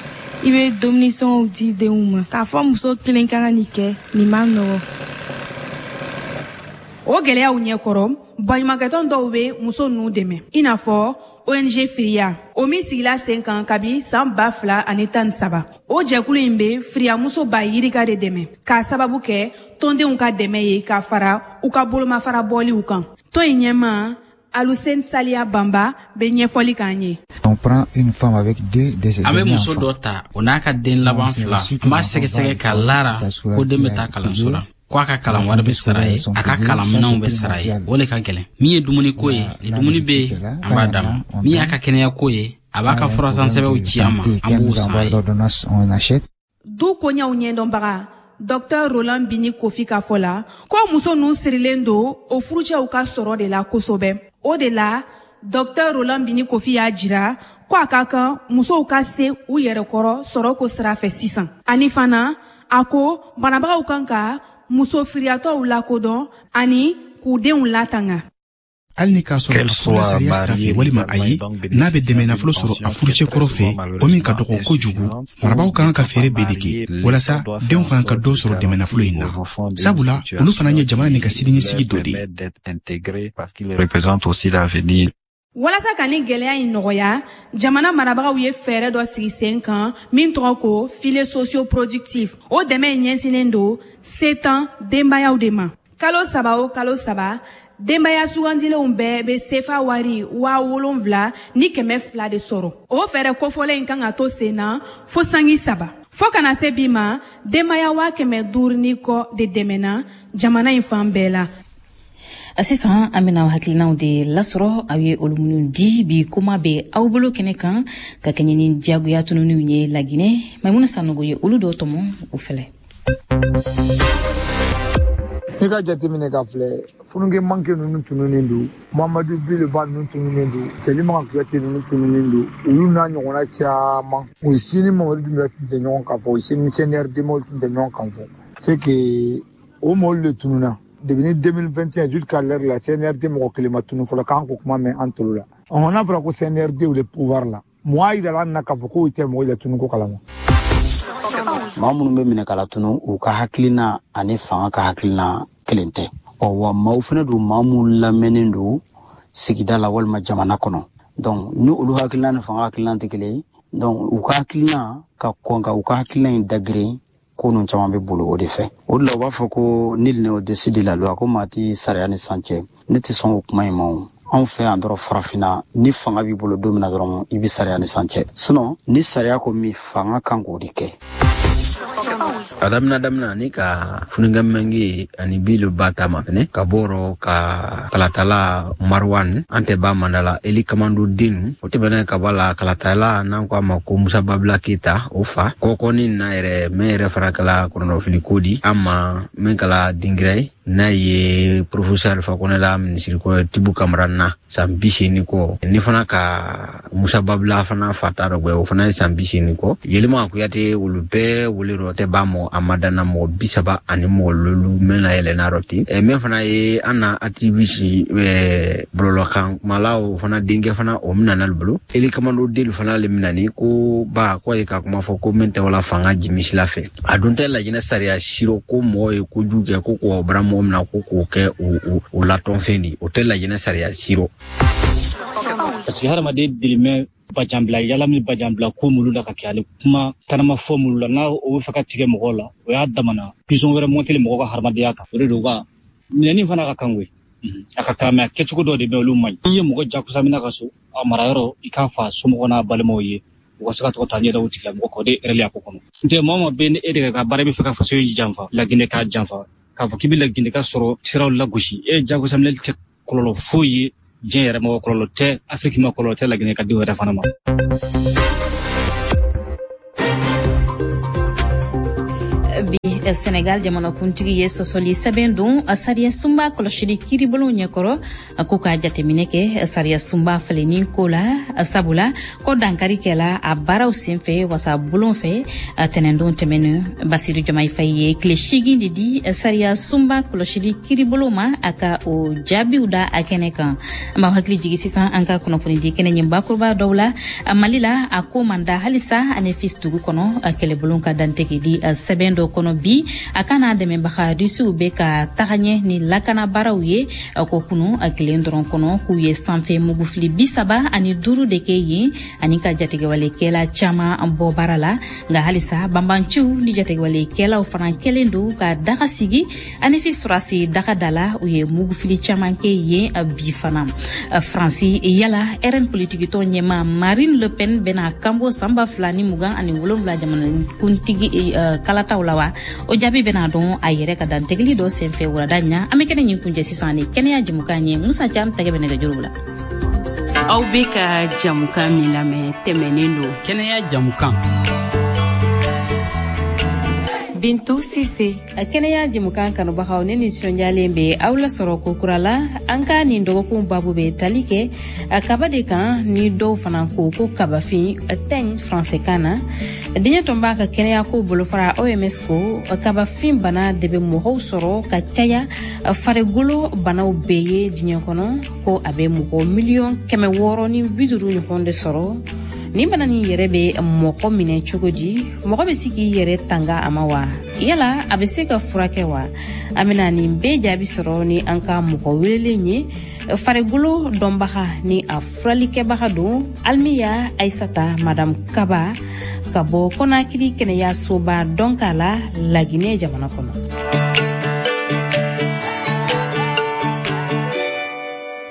i bɛ dumunisow di denw ma. K'a fɔ muso kelen ka na nin kɛ, nin man nɔgɔ. O gɛlɛyaw ɲɛkɔrɔ, baɲumankɛtɔn dɔw bɛ muso ninnu dɛmɛ, i n'a fɔ ONG Firiya, o min sigila sen kan kabi san 2013. O jɛkulu in bɛ firiyamuso ba yirika de dɛmɛ, k'a sababu kɛ tɔndenw ka dɛmɛ ye ka fara u ka bolomafara bɔliw kan. Tɔn in ɲɛmaa Aluseni Saliya Banba bɛ ɲɛfɔli k'an ye. On prend une femme avec deux des An bɛ muso dɔ ta, o n'a ka den laban 2, an b'a sɛgɛsɛgɛ ka lara ko den bɛ taa kalanso la, ko a ka kalan wari bɛ sara ye, a ka kalanminɛnw bɛ sara ye, o de ka gɛlɛn. Min ye dumuniko ye, ni dumuni bɛ yen, an b'a d'a ma. Min y'a ka kɛnɛyako ye, a b'a ka furasansɛbɛnw ci an ma, an b'o san ye. Du koɲɛw ɲɛdɔnbaga Dr Roland Bini Kofi ka fɔ la, ko muso ninnu sirilen don o furucɛw ka sɔrɔ de la kosɛbɛ. O de la, Dr Roland Bini Kofi y'a jira ko a ka kan musow ka se u yɛrɛ kɔrɔ sɔrɔ ko sira fɛ sisan. Ani fana, a ko banabagaw kan ka muso firiyatɔw lakodɔn ani k'u denw latanga. Hali ni k'a sɔrɔ a furula sariya sira fɛ walima ayi, n'a bɛ dɛmɛ nafolo sɔrɔ a furucɛ kɔrɔ fɛ, o min ka dɔgɔ kojugu, marabaaw kan ka fɛɛrɛ bɛɛ de kɛ walasa denw fana ka dɔ sɔrɔ dɛmɛ nafolo in na, sabula olu fana ye jamana nin ka siniɲɛsigi dɔ de ye. Walasa ka nin gɛlɛya in nɔgɔya, jamana marabagaw ye fɛɛrɛ dɔ sigi sen kan min tɔgɔ ko filet socio-productif. O dɛmɛ in ɲɛsinnen don setan denbayaw de ma. Kalo 3 o kalo 3, denbaya sugandilenw bɛɛ bɛ sefa wari 7200 de sɔrɔ. O fɛɛrɛ kofɔlen in kan ka to sen na fo sangi 3. Fo kana se bi ma, denbaya 500 ni kɔ de dɛmɛna jamana in fan bɛɛ la. Sisan an bɛna hakilinaw de lasɔrɔ aw ye olu minnu di bi kuma bɛ aw bolo kɛnɛ kan ka kɛɲɛ ni diyagoya tununiw ye Laginɛ. Maimuna Sanogo ye olu dɔw tɔmɔ o filɛ. N'i ka jateminɛ ka filɛ, funukɛ manke ninnu tununnen don, Mamadu Bileba ninnu tununnen don, Cɛlima Kuyate ninnu tununnen don, olu n'a ɲɔgɔnna caman. U si ni Mamadu Dunbiya tun tɛ ɲɔgɔn kan fɔ, u si ni CNRD mɔgɔw tun tɛ ɲɔgɔn kan fɔ. C'est que o mɔgɔw de tununna. Depuis 2021 jusqu'à l'heure la, CNRD mɔgɔ kelen ma tunu fɔlɔ k'an ko kuma mɛn an tolo la. Ɔhɔn, n'a fɔra ko CNRD le pouvoir la, mɔgɔ y'a yira an na k'a fɔ k'o tɛ mɔgɔ la tunu ko kalama. Maa minnu bɛ minɛ ka latunu, u ka hakilina ani fanga ka hakilina kelen tɛ. Ɔ wa maaw fana don, maa minnu lamɛnnen don sigida la walima jamana kɔnɔ. Donc ni olu hakilina ni fanga hakilina tɛ kelen ye, donc u ka hakilina ka kɔn ka u ka hakilina in dagirin, ko ninnu caman bɛ bolo o de fɛ. O de la u b'a fɔ ko nul n'est au-dessus de la loi, ko maa tɛ sariya ni san cɛ. Ne tɛ sɔn o kuma in ma o. Anw fɛ yan dɔrɔn farafinna, ni fanga b'i bolo don min na dɔrɔn, i bɛ sariya ni san cɛ. Sinon ni sariya ko min, fanga kan k'o de kɛ. A daminɛ ni ka fununkɛ mɛnge ani bilu ba ta ma fɛnɛ ka bɔrɔ ka kalatala Marwan an tɛ ba mandala Eli Kamando den o tɛmɛnen ka bɔ la kalatala n'an ko a ma ko Musa Babila Keyita o fa kɔkɔni na yɛrɛ mɛn yɛrɛ fana kɛla kɔnɔnɔfili ko di an ma min kɛla dingirɛ ye n'a ye professeur Alpha Condé la minisiri kɔrɔ Tibu Kamara na san 80 kɔ ni fana ka Musa Babila fana fa ta dɔ o fana ye san 80 kɔ Yelima Kuyate olu bɛɛ wele dɔ tɛ ba mɔgɔ a ma danna mɔgɔ 30 ani mɔgɔ lolu mɛn na yɛlɛnna dɔ ten mɛn fana ye an na activiste bɔlɔlɔkan kumala o fana denkɛ fana o minɛna olu bolo Eli Kamando delu fana le minɛni ko ba ko ye ka kuma fɔ ko min tɛ wala fanga jimisila fɛ a dun tɛ Lajinɛ sariya siro ko mɔgɔ ye kojugu kɛ ko k'o bara mɔgɔ min na ko k'o kɛ o latɔnfɛn di o tɛ Lajinɛ sariya siro. Parce que hadamaden dirimɛ Bajanbila yala min bajanbila ko mulu la ka kɛ ale kuma tanama fɔ mulu la n'a o bɛ fɛ ka tigɛ mɔgɔw la, o y'a damana pisɔn wɛrɛ mɔnteli mɔgɔ ka hadamadenya kan. O de don ka minɛni fana ka kan koyi, a ka kan, mais a kɛcogo dɔ de bɛ olu man ɲi. N'i ye mɔgɔ jagosa minɛ ka so a marayɔrɔ, i k'a fɔ a somɔgɔ n'a balimaw ye, u ka se ka tɔgɔ ta ɲɛda o tigilamɔgɔ kan. O de ye erreur a ko kɔnɔ. N tɛ maa o maa bɛ ni e de ka baara bɛ fɛ ka faso in janfa, Laginɛ k'a janfa, k'a fɔ k'i bɛ Laginɛ ka sɔrɔ siraw lagosi, e jagosa minɛli tɛ kɔlɔlɔ foyi ye diɲɛ yɛrɛ ma, kɔlɔlɔ tɛ Afiriki ma, kɔlɔlɔ tɛ Laginɛ ka denw yɛrɛ fana ma. Bi Senegal jamanakuntigi ye sɔsɔli sɛbɛn don sariya sunba kɔlɔsili kiiribulon ɲɛkɔrɔ ko ka jateminɛ kɛ sariya sunba falenni ko la, sabula ko dankari kɛla a baaraw senfɛ wasabulon fɛ tɛnɛndon tɛmɛnen. Basiru Jomayi Fayi ye tile 8 de di sariya sunba kɔlɔsili kiiribulon ma a ka o jaabiw da a kɛnɛ kan. An b'aw hakili jigi sisan an ka kunnafonidi kɛnɛ ɲɛ bakuruba dɔw la. Mali la, a ko man da halisa Anefis dugu kɔnɔ, kɛlɛbulon ka dantigɛli sɛbɛn dɔ kɔnɔ bi a kana dɛmɛbaga Rusiw bɛ ka taga ɲɛ ni lakana baaraw ye ko kunu kelen dɔrɔn kɔnɔ k'u ye sanfɛ mugufili 35 de kɛ yen ani ka jatigɛwalekɛla caman bɔ baara la. Nka halisa banbanciw ni jatigɛwalekɛlaw fana kɛlen don ka daga sigi Anefis sɔrɔdasi daga da la, u ye mugufili caman kɛ yen bi fana. Faransi, yala RN politikitɔn ɲɛmaa Marine Le Pen bɛna kanbɔ san 2027 jamanakuntigi kalataw la wa? O jaabi bɛna dɔn a yɛrɛ ka dantigɛli dɔ senfɛ wulada in na. An bɛ kɛnɛ ɲin kuncɛ sisan ni kɛnɛya jɛmukan ye. Musa Cam tɛgɛ bɛ nɛgɛjuru la. Aw bɛ ka jɛmukan min lamɛn tɛmɛnen don kɛnɛya jɛmukan. Bintu Sise. Kɛnɛya jɛmukan kanubagaw, ne nisɔndiyalen bɛ aw lasɔrɔ ko kura la. An ka nin dɔgɔkun babu bɛ tali kɛ kaba de kan, ni dɔw fana ko ko kabafin teigne faransɛkan na. Diɲɛ tɔnba ka kɛnɛyako bolofara OMS ko kabafin bana de bɛ mɔgɔw sɔrɔ ka caya farikolo banaw bɛɛ ye diɲɛ kɔnɔ, ko a bɛ mɔgɔ 650 miliyɔn ɲɔgɔn de sɔrɔ. Nin bana nin yɛrɛ bɛ mɔgɔ minɛ cogo di? Mɔgɔ bɛ se k'i yɛrɛ tanga a ma wa? Yala a bɛ se ka furakɛ wa? An bɛna nin bɛɛ jaabi sɔrɔ ni an ka mɔgɔ welelen ye, farikolo dɔnbaga ni a furalikɛbaga don, Alimiya Ayisata Madame Kaba, ka bɔ Kɔnakiri kɛnɛyasoba dɔnka la, Laginɛ jamana kɔnɔ.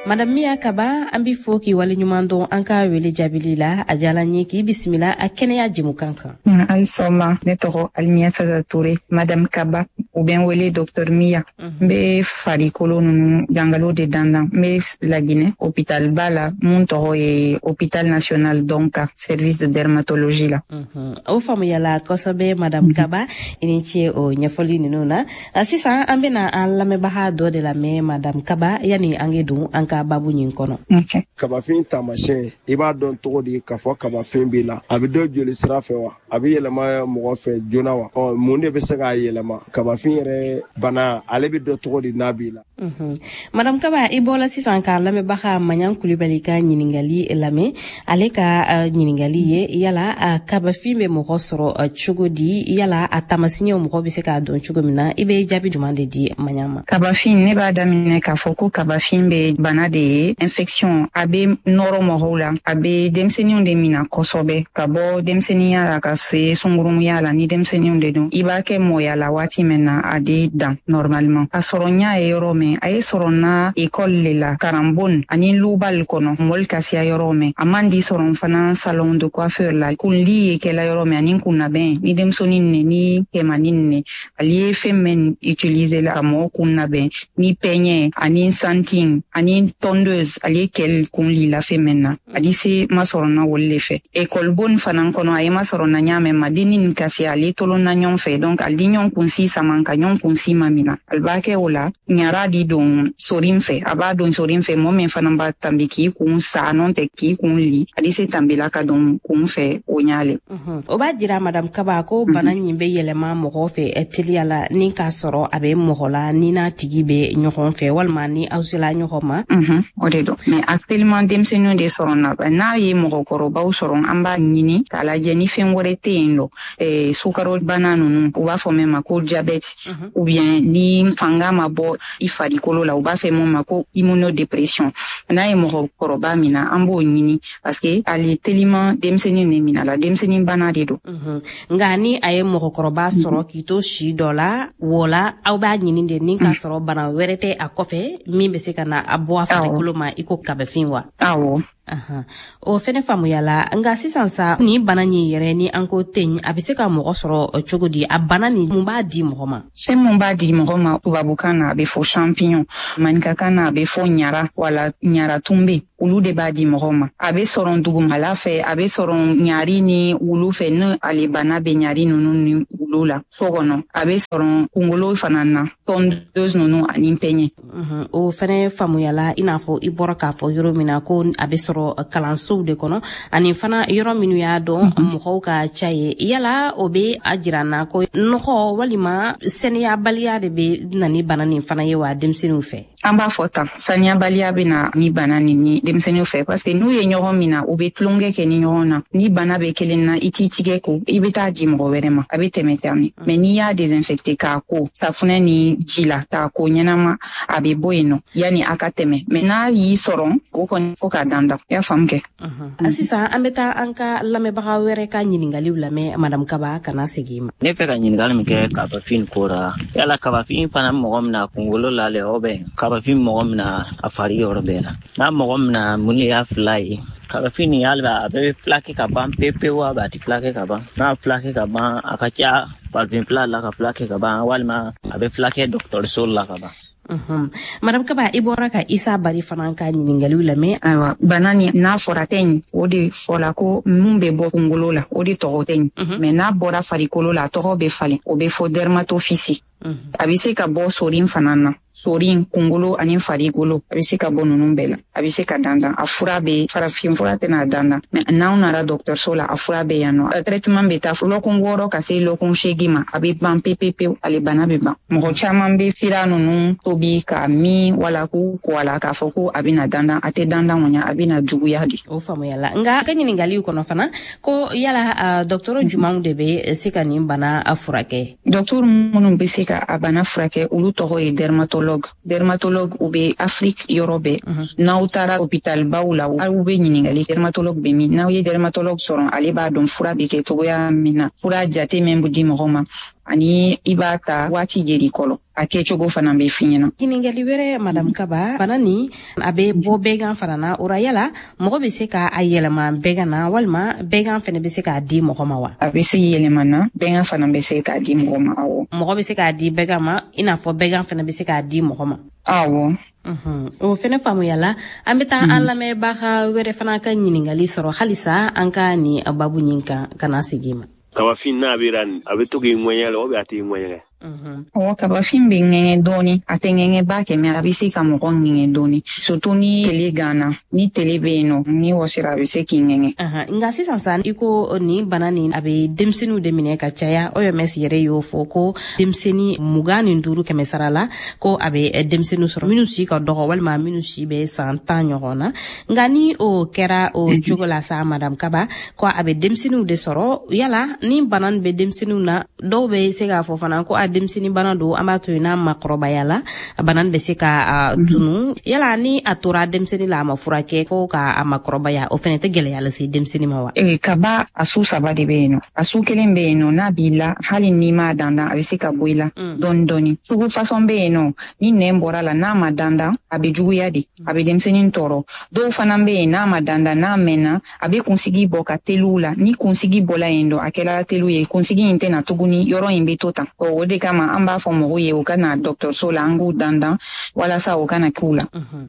Madame Miya Kaba, an b'i fo k'i waleɲuman dɔn an ka wele jaabili la. A diyala n ye k'i bisimila a kɛnɛya jɛmukan kan. Ayi sɔgɔma. Ne tɔgɔ Alimiya Sasa Ture, Madame Kaba, u bɛ n wele Docteur Miya. N bɛ farikolo ninnu jangalo de dandan. N bɛ Laginɛ hôpital ba la mun tɔgɔ ye Hôpital National Donka, service de dermatologie la. O faamuyala kosɛbɛ, Madame Kaba, i ni ce o ɲɛfɔli ninnu na. Sisan an bɛna an lamɛnbaga dɔ de lamɛn, Madame Kaba, yani an ke don an ka babu ɲin kɔnɔ. Kabafin taamasiyɛn, i b'a dɔn cogo di k'a fɔ kabafin b'i la? A bɛ dɔn joli sira fɛ wa? A bɛ yɛlɛma mɔgɔ fɛ joona wa? Ɔ, mun de bɛ se k'a yɛlɛma? Kabafin yɛrɛ bana, ale bɛ dɔn cogo di n'a b'i la? Madame Kaba, i bɔla sisan k'a lamɛnbaga Maɲan Kulibali ka ɲiningali lamɛn. Ale ka ɲiningali ye: yala kabafin bɛ mɔgɔ sɔrɔ cogo di? Yala a taamasiɲɛw, mɔgɔ bɛ se k'a dɔn cogo min na? I bɛ jaabi jumɛn de di Maɲan ma? Kabafin, ne b'a daminɛ k'a fɔ ko kabafin bɛ bana de ye, infection. A bɛ nɔrɔ mɔgɔw la, a bɛ denmisɛnninw de mina kosɛbɛ, ka bɔ denmisɛnninya la ka se sungurumuya la. Ni denmisɛnninw de don, i b'a kɛ mɔya la waati min na, a de dan normalement. A sɔrɔ ɲa ye yɔrɔ min, a ye sɔrɔ na école le la, karanbon ani lubal kɔnɔ, mɔli ka siya yɔrɔ min. A man di sɔrɔ fana salon de coiffure la, kunli ye kɛla yɔrɔ min, ani kunnabɛn ni denmisɛnnin ne ni kɛmanin ne, ale ye fɛn min utiliser la ka mɔgɔ kun labɛn, ni peigne ani santin ani tondeuse, ale ye kɛl kunli la fɛn min na, ali se masɔrɔ na wolu le fɛ. École bon fana kɔnɔ, a ye masɔrɔ na ɲa mɛn ma, denni nin kasi ale tolon na ɲɔgɔn fɛ, donc ali di ɲɔgɔn kunsi saman ka ɲɔgɔn kunsi mamina. Ali b'a kɛ o la, ɲara di don sorin fɛ, a b'a don sorin fɛ. Mɔgɔ min fana b'a tanbi k'i kun sa nɔn tɛ k'i kun li, ali se tanbila ka don kun fɛ o ɲa le. O b'a jira, Madame Kaba, ko bana ɲin bɛ yɛlɛma mɔgɔ fɛ teliya la ni k'a sɔrɔ a bɛ mɔgɔ la, ni n'a tigi bɛ ɲɔgɔn fɛ walima ni aw sela ɲɔgɔn ma. O de don, mais actuellement denmisɛnninw de sɔrɔ na. N'a ye mɔgɔkɔrɔbaw sɔrɔ, an b'a ɲini k'a lajɛ ni fɛn wɛrɛ tɛ yen nɔ, sukaro bana ninnu, u b'a fɔ min ma ko diabète, ou bien ni fanga ma bɔ i fari. farikolo la, u b'a fɛ mun ma ko immunodépression. N'a ye mɔgɔkɔrɔba mina, an b'o ɲini parce que ale teliman denmisɛnnin de mina la, denmisɛnnin bana de don. Nka ni a ye mɔgɔkɔrɔba sɔrɔ k'i to si dɔ la wo la, aw b'a ɲini de ni k'a sɔrɔ bana wɛrɛ tɛ a kɔfɛ min bɛ se ka na a bɔ a farikolo ma i ko kabafin wa? Awɔ. O fɛnɛ faamuyala. Nka sisan sa, ni bana nin yɛrɛ ni an ko ten, a bɛ se ka mɔgɔ sɔrɔ cogo di? A bana nin, mun b'a di mɔgɔ ma? Fɛn mun b'a di mɔgɔ ma, tubabukan na a bɛ fɔ champignon, maninkakan na a bɛ fɔ ɲara wala ɲara tunbe, olu de b'a di mɔgɔ ma. A bɛ sɔrɔ dugumala fɛ, a bɛ sɔrɔ ɲari ni wulu fɛ, ni ale bana bɛ ɲari ninnu ni wulu la so kɔnɔ. A bɛ sɔrɔ kunkolo fana na, tondeuse ninnu ani pɛɲɛ. O fɛnɛ faamuyala. I n'a fɔ i bɔra k'a fɔ yɔrɔ min na ko a bɛ sɔrɔ kalansow de kɔnɔ ani fana yɔrɔ minnu y'a dɔn mɔgɔw ka ca ye, yala o bɛ a jira na ko nɔgɔ walima sɛnɛyabaliya de bɛ na ni bana nin fana ye wa denmisɛnninw fɛ? An b'a fɔ tan, saniyabaliya bɛ na ni bana nin ni denmisɛnninw fɛ, parce que n'u ye ɲɔgɔn min na, u bɛ tulonkɛ kɛ ni ɲɔgɔn na. Ni bana bɛ kelen na, i t'i tigɛ ko, i bɛ taa di mɔgɔ wɛrɛ ma, a bɛ tɛmɛ tan de. Mais n'i y'a désinfecté k'a ko safunɛ ni ji la, k'a ko ɲɛnama, a bɛ bɔ yen nɔ yanni a ka tɛmɛ. Mais n'a y'i sɔrɔ, o kɔni fo k'a dandan. I y'a faamu kɛ? Sisan an bɛ taa an ka lamɛnbaga wɛrɛ ka ɲininkaliw lamɛn. Madame Kaba, kana segin ma. Ne fɛ ka ɲininkali min kɛ kabafin ko la, yala kabafin fana mɔgɔ min na kunkolo la le, o bɛ kabafin mɔgɔ min na a fari yɔrɔ bɛɛ la? N'a mɔgɔ min na, mun de y'a fila ye? Kabafin nin, hali a bɛ filakɛ ka ban pewu pewu, a tɛ filakɛ ka ban? N'a filakɛ ka ban, a ka ca farafin fila la ka filakɛ ka ban, walima a bɛ filakɛ dɔgɔtɔrɔso la ka ban? Madame Kaba, i bɔra ka Isa Bari fana ka ɲininkaliw lamɛn. Ayiwa, bana ni n'a fɔra teigne, o de fɔla ko mun bɛ bɔ kunkolo la, o de tɔgɔ teigne. Mais n'a bɔra farikolo la, a tɔgɔ bɛ falen, o bɛ fɔ dermatophysie. A bɛ se ka bɔ sorin fana na, sorin, kunkolo ani farikolo, a bɛ se ka bɔ ninnu bɛɛ la. A bɛ se ka dandan, a fura bɛ, farafin fura tɛna dandan, mais n'aw nana dɔgɔtɔrɔso la, a fura bɛ yan nɔ. Traitement bɛ taa lɔkun 6 ka se lɔkun 8 ma, a bɛ ban pewu pewu, ale bana bɛ ban. Mɔgɔ caman bɛ fira ninnu tobi ka min wala k'u ko a la k'a fɔ ko a bɛna dandan. A tɛ dandan kɔni, a bɛna juguya de. O faamuyala. Nka ka ɲininkaliw kɔnɔ fana ko yala dɔgɔtɔrɔ jumanw de bɛ se ka nin bana furakɛ? Dɔgɔtɔrɔ minnu bɛ se ka a bana furakɛ, olu tɔgɔ ye dermatologue. Dermatologue, u bɛ Afrique yɔrɔ bɛɛ. N'aw taara hôpital baw la, aw bɛ ɲininkali dermatologue bɛ min. N'aw ye dermatologue sɔrɔ, ale b'a dɔn fura bɛ kɛ cogoya min na, fura jate min bɛ di mɔgɔ ma, ani i b'a ta waati jeli kɔlɔ, a kɛcogo fana bɛ f'i ɲɛna. Ɲininkali wɛrɛ, Madame Kaba, bana nin a bɛ bɔ bɛgan fana na. O ra, yala mɔgɔ bɛ se ka a yɛlɛma bɛgan na, walima bɛgan fana bɛ se k'a di mɔgɔ ma wa? A bɛ se yɛlɛma na, bɛgan fana bɛ se k'a di mɔgɔ ma, awɔ. Mɔgɔ bɛ se k'a di bɛgan ma, i n'a fɔ bɛgan fana bɛ se k'a di mɔgɔ ma? Awɔ. O fɛnɛ faamuyala. An bɛ taa an lamɛnbaga wɛrɛ fana ka ɲininkali sɔrɔ halisa an ka nin babu ɲin kan, ka na segin ma. Kabafin n'a bɛ a bɛ to k'i ŋɛɲɛ la, o bɛ a t'i ŋɛɲɛ? Ɔwɔ, kabafin bɛ ŋɛɲɛ dɔɔni. A tɛ ŋɛɲɛ ba kɛ, mais a bɛ se ka mɔgɔ ŋɛɲɛ dɔɔni, surtout ni tele ganna, ni tele bɛ yen nɔ, ni wɔsira, a bɛ se k'i ŋɛɲɛ. Nka sisan sa, i ko nin bana nin a bɛ denmisɛnninw de minɛ ka caya. OMS yɛrɛ y'o fɔ ko denmisɛnnin 25 kɛmɛ sara la, ko a bɛ denmisɛnninw sɔrɔ minnu si ka dɔgɔ walima minnu si bɛ san 10 ɲɔgɔn na. Nka ni o kɛra o cogo la sa, Madame Kaba, ko a bɛ denmisɛnninw de sɔrɔ, yala ni bana nin bɛ denmisɛnninw na, dɔw bɛ se k'a fɔ fana ko a denmisɛnnin bana don, an b'a to yen, n'a makɔrɔbaya la, bana bɛ se ka tunu. Yala ni a tora denmisɛnnin la, a ma furakɛ fo ka a makɔrɔbaya, o fana tɛ gɛlɛya lase denmisɛnnin ma wa? Kaba a su saba de bɛ yen nɔ. A su kelen bɛ yen nɔ, n'a b'i la, hali n'i m'a dandan, a bɛ se ka bɔ i la dɔɔni dɔɔni. Sugu façon bɛ yen nɔ, ni nɛn bɔra la, n'a ma dandan, a bɛ juguya de, a bɛ denmisɛnnin tɔɔrɔ. Dɔw fana bɛ yen, n'a ma dandan, n'a mɛnna, a bɛ kunsigi bɔ ka teliw la. Ni kunsigi bɔla yen dɔ, a kɛra teliw ye, kunsigi in tɛna tuguni, yɔrɔ in bɛ to tan. O de kama an b'a fɔ mɔgɔw ye u ka na dɔgɔtɔrɔso la, an k'u dandan walasa o kana k'u la.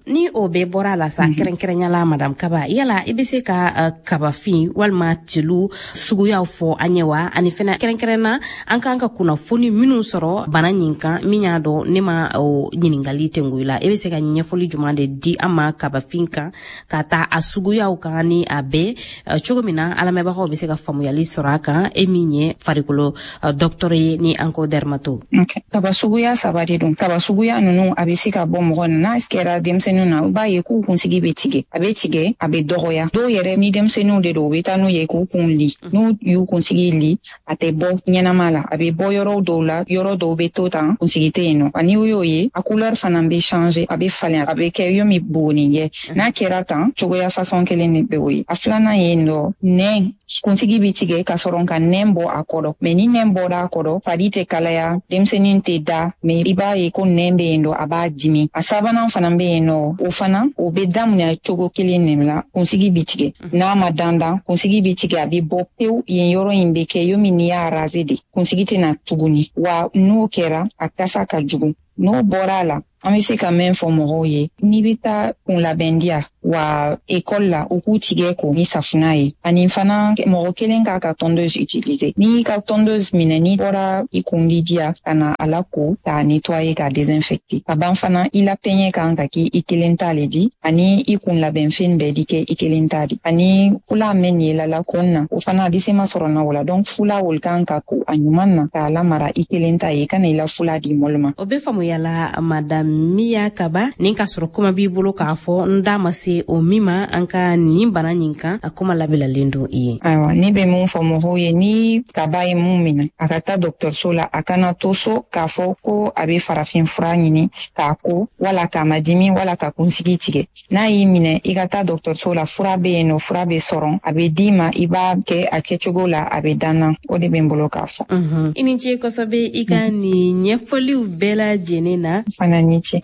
Ni o bɛɛ bɔra a la sa, kɛrɛnkɛrɛnya la, Madame Kaba, yala i bɛ se ka kabafin walima telu suguyaw fɔ an ye wa? Ani fɛnɛ kɛrɛnkɛrɛnna, an kan ka kunnafoni minnu sɔrɔ bana nin kan, min y'a dɔn ne ma o ɲininkali tengu i la, i bɛ se ka ɲɛfɔli jumɛn de di an ma kabafin kan, ka taa a suguyaw kan ni a bɛɛ, cogo min na an lamɛnbagaw bɛ se ka faamuyali sɔrɔ a kan, e min ye farikolo dɔgɔtɔrɔ ye ni an ko dermatologue? Mato. Okay. Kaba suguya 3 de don. Kaba suguya ninnu a bɛ se ka bɔ mɔgɔ na, n'a kɛra denmisɛnninw na, i b'a ye k'u kunsigi bɛ tigɛ, a bɛ tigɛ, a bɛ dɔgɔya. Dɔw yɛrɛ ni denmisɛnninw de don, u bɛ taa n'u ye k'u kun li. N'u y'u kunsigi li, a tɛ bɔ ɲɛnama la, a bɛ bɔ yɔrɔ dɔw la, yɔrɔ dɔw bɛ to tan, kunsigi tɛ yen nɔ. Ani u y'o ye, a couleur fana bɛ changer, a bɛ falen, a bɛ kɛ yomi buguninjɛ. N'a kɛra tan, cogoya façon kelen de bɛ o ye. A filanan ye nɔ, nɛn, kunsigi bɛ tigɛ ka sɔrɔ ka nɛn bɔ a kɔrɔ. Mais ni nɛn bɔra a kɔrɔ, fari tɛ kalaya, denmisɛnnin tɛ da, mais i b'a ye ko nɛn bɛ yen nɔ, a b'a dimi. A sabanan fana bɛ yen nɔ, o fana o bɛ daminɛ cogo kelen de la, kunsigi bɛ tigɛ. N'a ma dandan, kunsigi bɛ tigɛ, a bɛ bɔ pewu, yen yɔrɔ in bɛ kɛ yomi n'i y'a raser de, kunsigi tɛna tuguni. Wa n'o kɛra, a kasa ka jugu. N'o bɔra a la, an bɛ se ka mɛn fɔ mɔgɔw ye, n'i bɛ taa kunlabɛndiya wa ekɔli la, u k'u tigɛ ko ni safunɛ ye. Ani fana mɔgɔ kelen k'a ka tondeuse utiliser. N'i ka tondeuse minɛ, n'i bɔra i kundi diya ka na a la ko k'a nettoyer, k'a désinfecter. Ka ban fana, i la pɛɲɛ kan ka k'i i kelen ta le di, ani i kun labɛnfɛn bɛɛ di kɛ i kelen ta di. Ani fula mɛn ye la kun na, o fana a ma sɔrɔ na o la. Donc fula olu kan ka ko a ɲuman na k'a lamara i kelen ta ye, i kana i la fula di mɔlu ma. O bɛ faamuya la, madame Miya Kaba, nin ka sɔrɔ kuma b'i bolo k'a fɔ n da ma se o min ma an ka nin bana nin kan, a kuma labilalen don i ye. Ayiwa, ne bɛ mun fɔ mɔgɔw ye, ni kaba ye mun minɛ, a ka taa dɔgɔtɔrɔso la, a kana to so k'a fɔ ko a bɛ farafin fura ɲini k'a ko, wala k'a ma dimi, wala ka kunsigi tigɛ. N'a y'i minɛ, i ka taa dɔgɔtɔrɔso la, fura bɛ yen nɔ, fura bɛ sɔrɔ, a bɛ d'i ma, i b'a kɛ a kɛcogo la, a bɛ danna. O de bɛ n bolo k'a fɔ. I ni ce kosɛbɛ i ka nin ɲɛfɔliw bɛɛ lajɛlen na. Fana ni ce.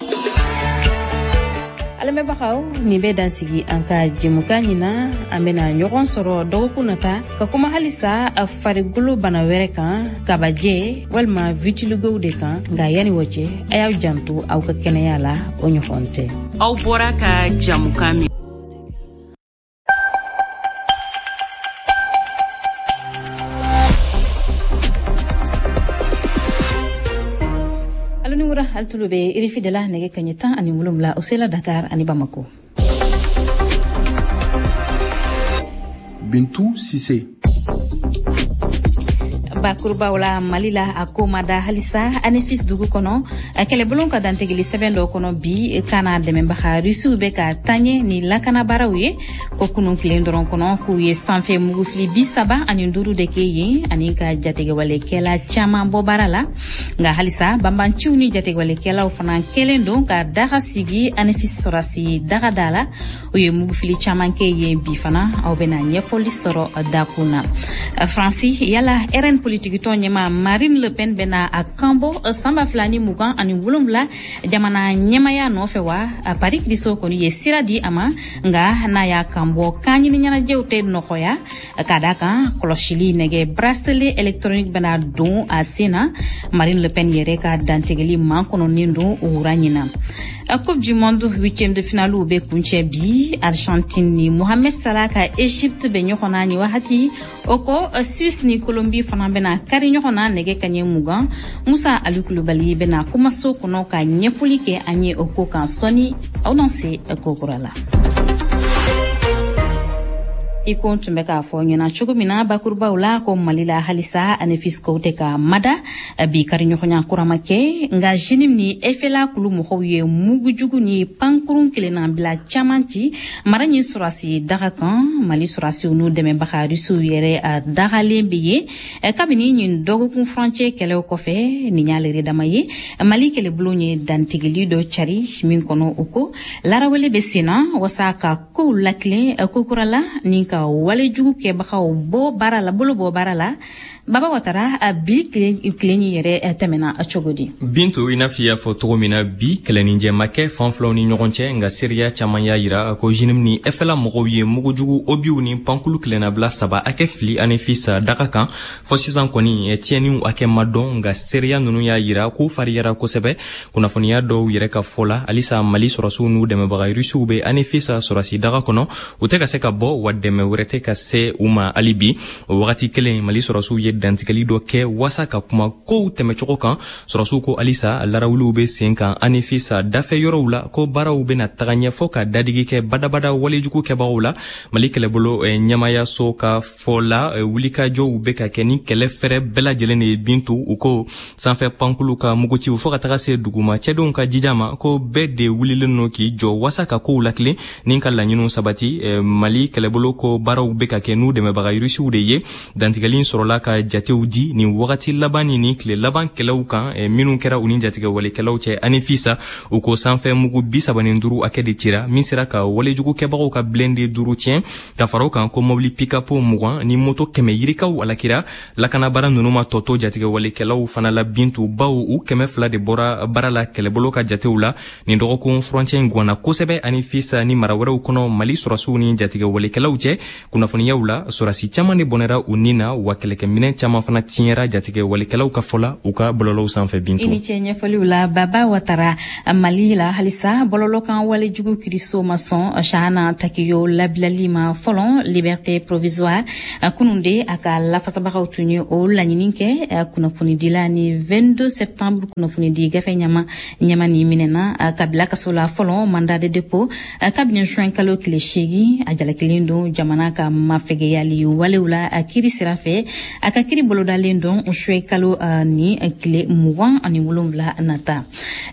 Lamɛnbagaw, nin bɛ dansigi an ka jɛmukan ɲin na. An bɛna ɲɔgɔn sɔrɔ dɔgɔkun nata ka kuma halisa farikolo bana wɛrɛ kan, kabajɛ walima vitiligow de kan. Nka yanni o cɛ, a y'aw janto aw ka kɛnɛya la, o ɲɔgɔn tɛ. Aw bɔra ka jɛmukan min Altulu bɛ RFI de la nɛgɛ kaɲɛ 17, o sela Dakar ani Bamako. Bintu Sise. Bakurubaw la, Mali la, a ko ma da halisa Anefis dugu kɔnɔ. Kɛlɛbolo ka dantigɛli sɛbɛn dɔ kɔnɔ bi kana dɛmɛbaga Rusiw bɛ ka taɲɛ ni lakanabaraw ye ko kunun tilen dɔrɔn kɔnɔ k'u ye sanfɛ mugufili 35 de kɛ yen, ani ka jatigɛwalekɛla caman bɔ baara la. Nka halisa banbanciw ni jatigɛwalekɛlaw fana kɛlen don ka daga sigi Anefis sɔrɔsi daga da la. U ye mugufili caman kɛ yen bi fana. Aw bɛna ɲɛfɔli sɔrɔ dakun na. Faransi, yala RN politikitɔn ɲɛma Marine Le Pen bɛna a kanbɔ san 2027 jamana ɲɛmaya nɔfɛ wa? Paris kiriso kɔni ye sira di a ma, nka n'a y'a kanbɔ kan ɲini ɲɛnajɛw tɛ nɔgɔya, ka da kan kɔlɔsili nɛgɛ bracelet électronique bɛna don a sen na. Marine Le Pen yɛrɛ ka dantigɛli makɔnɔnen don o wura ɲin na. Coupe du monde huitième de finale bɛ kuncɛ bi. Argentine ni Mohamed Salah ka Egypte bɛ ɲɔgɔn na nin wagati. O kɔ, Suisse ni Colombie fana bɛna kari ɲɔgɔn na nɛgɛ kaɲɛ 20. Musa Ali Kulubali bɛna kumaso kɔnɔ ka ɲɛfɔli kɛ an ye o ko kan sɔɔni. Aw n'an se ko kura la. I ko n tun bɛ k'a fɔ ɲɛna cogo min na bakurubaw la, ko Mali la halisa Anefis kow tɛ ka mada bi, kari ɲɔgɔnya kura ma kɛ. Nka JNIM ni FLA kulu mɔgɔw ye mugujugu ni pankurun kelennabila caman ci mara ɲin sɔrɔsi daga kan. Mali sɔrɔsiw n'u dɛmɛbaga Rusiw yɛrɛ a dagalen bɛ yen kabini ɲin dɔgɔkun furancɛ kɛlɛw kɔfɛ. Nin y'ale yɛrɛ dama ye, Mali kɛlɛbulon ye dantigɛli dɔ cari min kɔnɔ, o ko larawele bɛ sen na wasa ka kow lakilen kokura la ni ka walejugu kɛbagaw bɔ baara la, bolo bɔ baara la. Baba Watara, a bi tile yɛrɛ tɛmɛna cogo di? Bintu, i n'a fɔ i y'a fɔ cogo min na, bi kɛlɛninjɛ ma kɛ fan filaw ni ɲɔgɔn cɛ, nka seereya caman y'a yira ko JNIM ni FLA mɔgɔw ye mugujugu obiw ni pankulu kelennabila 3 hakɛ fili Anefis daga kan. Fɔ sisan kɔni tiɲɛniw hakɛ ma dɔn, nka seereya ninnu y'a yira k'u fariyara kosɛbɛ. Kunnafoniya dɔw yɛrɛ ka fɔ la, halisa Mali sɔrɔsiw n'u dɛmɛbaga Rusiw bɛ Anefis sɔrɔsi daga kɔnɔ, u tɛ ka se ka bɔ, wa dɛmɛ wɛrɛ tɛ ka se u ma hali bi. O wagati kelen, Mali sɔrɔsiw ye dantigɛli dɔ kɛ waasa ka kuma kow tɛmɛcogo kan. Sɔrɔsiw ko halisa larawuliw bɛ sen kan Anefis dafɛ yɔrɔw la, ko baaraw bɛna taga ɲɛ fɔ ka dadigi kɛ badabada walejugu kɛbagaw la. Mali kɛlɛbolo ɲɛmayaso ka fɔ la, wulikajɔw bɛ ka kɛ ni kɛlɛ fɛrɛ bɛɛ lajɛlen de ye. Bintu, u ko sanfɛ pankulu ka muguciw fɔɔ ka taga se duguma cɛdenw ka jija ma, ko bɛɛ de wulilen no k'i jɔ waasa ka kow lakilen ni ka laɲiniw sabati. Mali kɛlɛbolo ko baaraw bɛ ka kɛ n'u dɛmɛbaga Irisiw de ye. Dantigɛli sɔrɔla ka jatew di nin wagati laban ni tile laban kɛlɛw kan minnu kɛra u ni jatigɛwalekɛlaw cɛ Anefis. U ko sanfɛ mugu 35 hakɛ de cira, min sera ka walejugu kɛbagaw ka blindé 5 tiɲɛ. Ka fara o kan, ko mobili pick-up 20 ni moto 100 yirikaw alakira. Lakanabara ninnu ma tɔ to jatigɛwalekɛlaw fana la, Bintu, baw u 200 de bɔra baara la kɛlɛbolo ka jatew la. Nin dɔgɔkun furancɛ in gwanna kosɛbɛ Anefis ni mara wɛrɛw kɔnɔ Mali sɔrɔsiw ni jatigɛwalekɛlaw cɛ. Kunnafoniyaw la, sɔrɔsi caman de bɔnɛra u ni na, wa kɛlɛkɛminɛn caman fana tiɲɛra jatigɛwalekɛlaw ka fɔ la u ka bɔlɔlɔw sanfɛ. Bintu, i ni ce ɲɛfɔliw la, Baba Watara. Mali la halisa, bɔlɔlɔ kan walejugu kiriso ma sɔn Chahana Takiyo labilali ma fɔlɔ, liberté provisoire. Kunun de a ka lafasabagaw tun ye o laɲini kɛ. Kunnafonidila ni 22 septembre kunnafonidi gafe ɲama ɲama ni minɛna ka bila kaso la fɔlɔ, mandat de dépôt, kabini juin kalo tile 8. A jalakilen don jamana ka mafɛgɛyali walew la kiri sira fɛ. A ka kiri bolodalen don juin kalo ni tile 27 nata.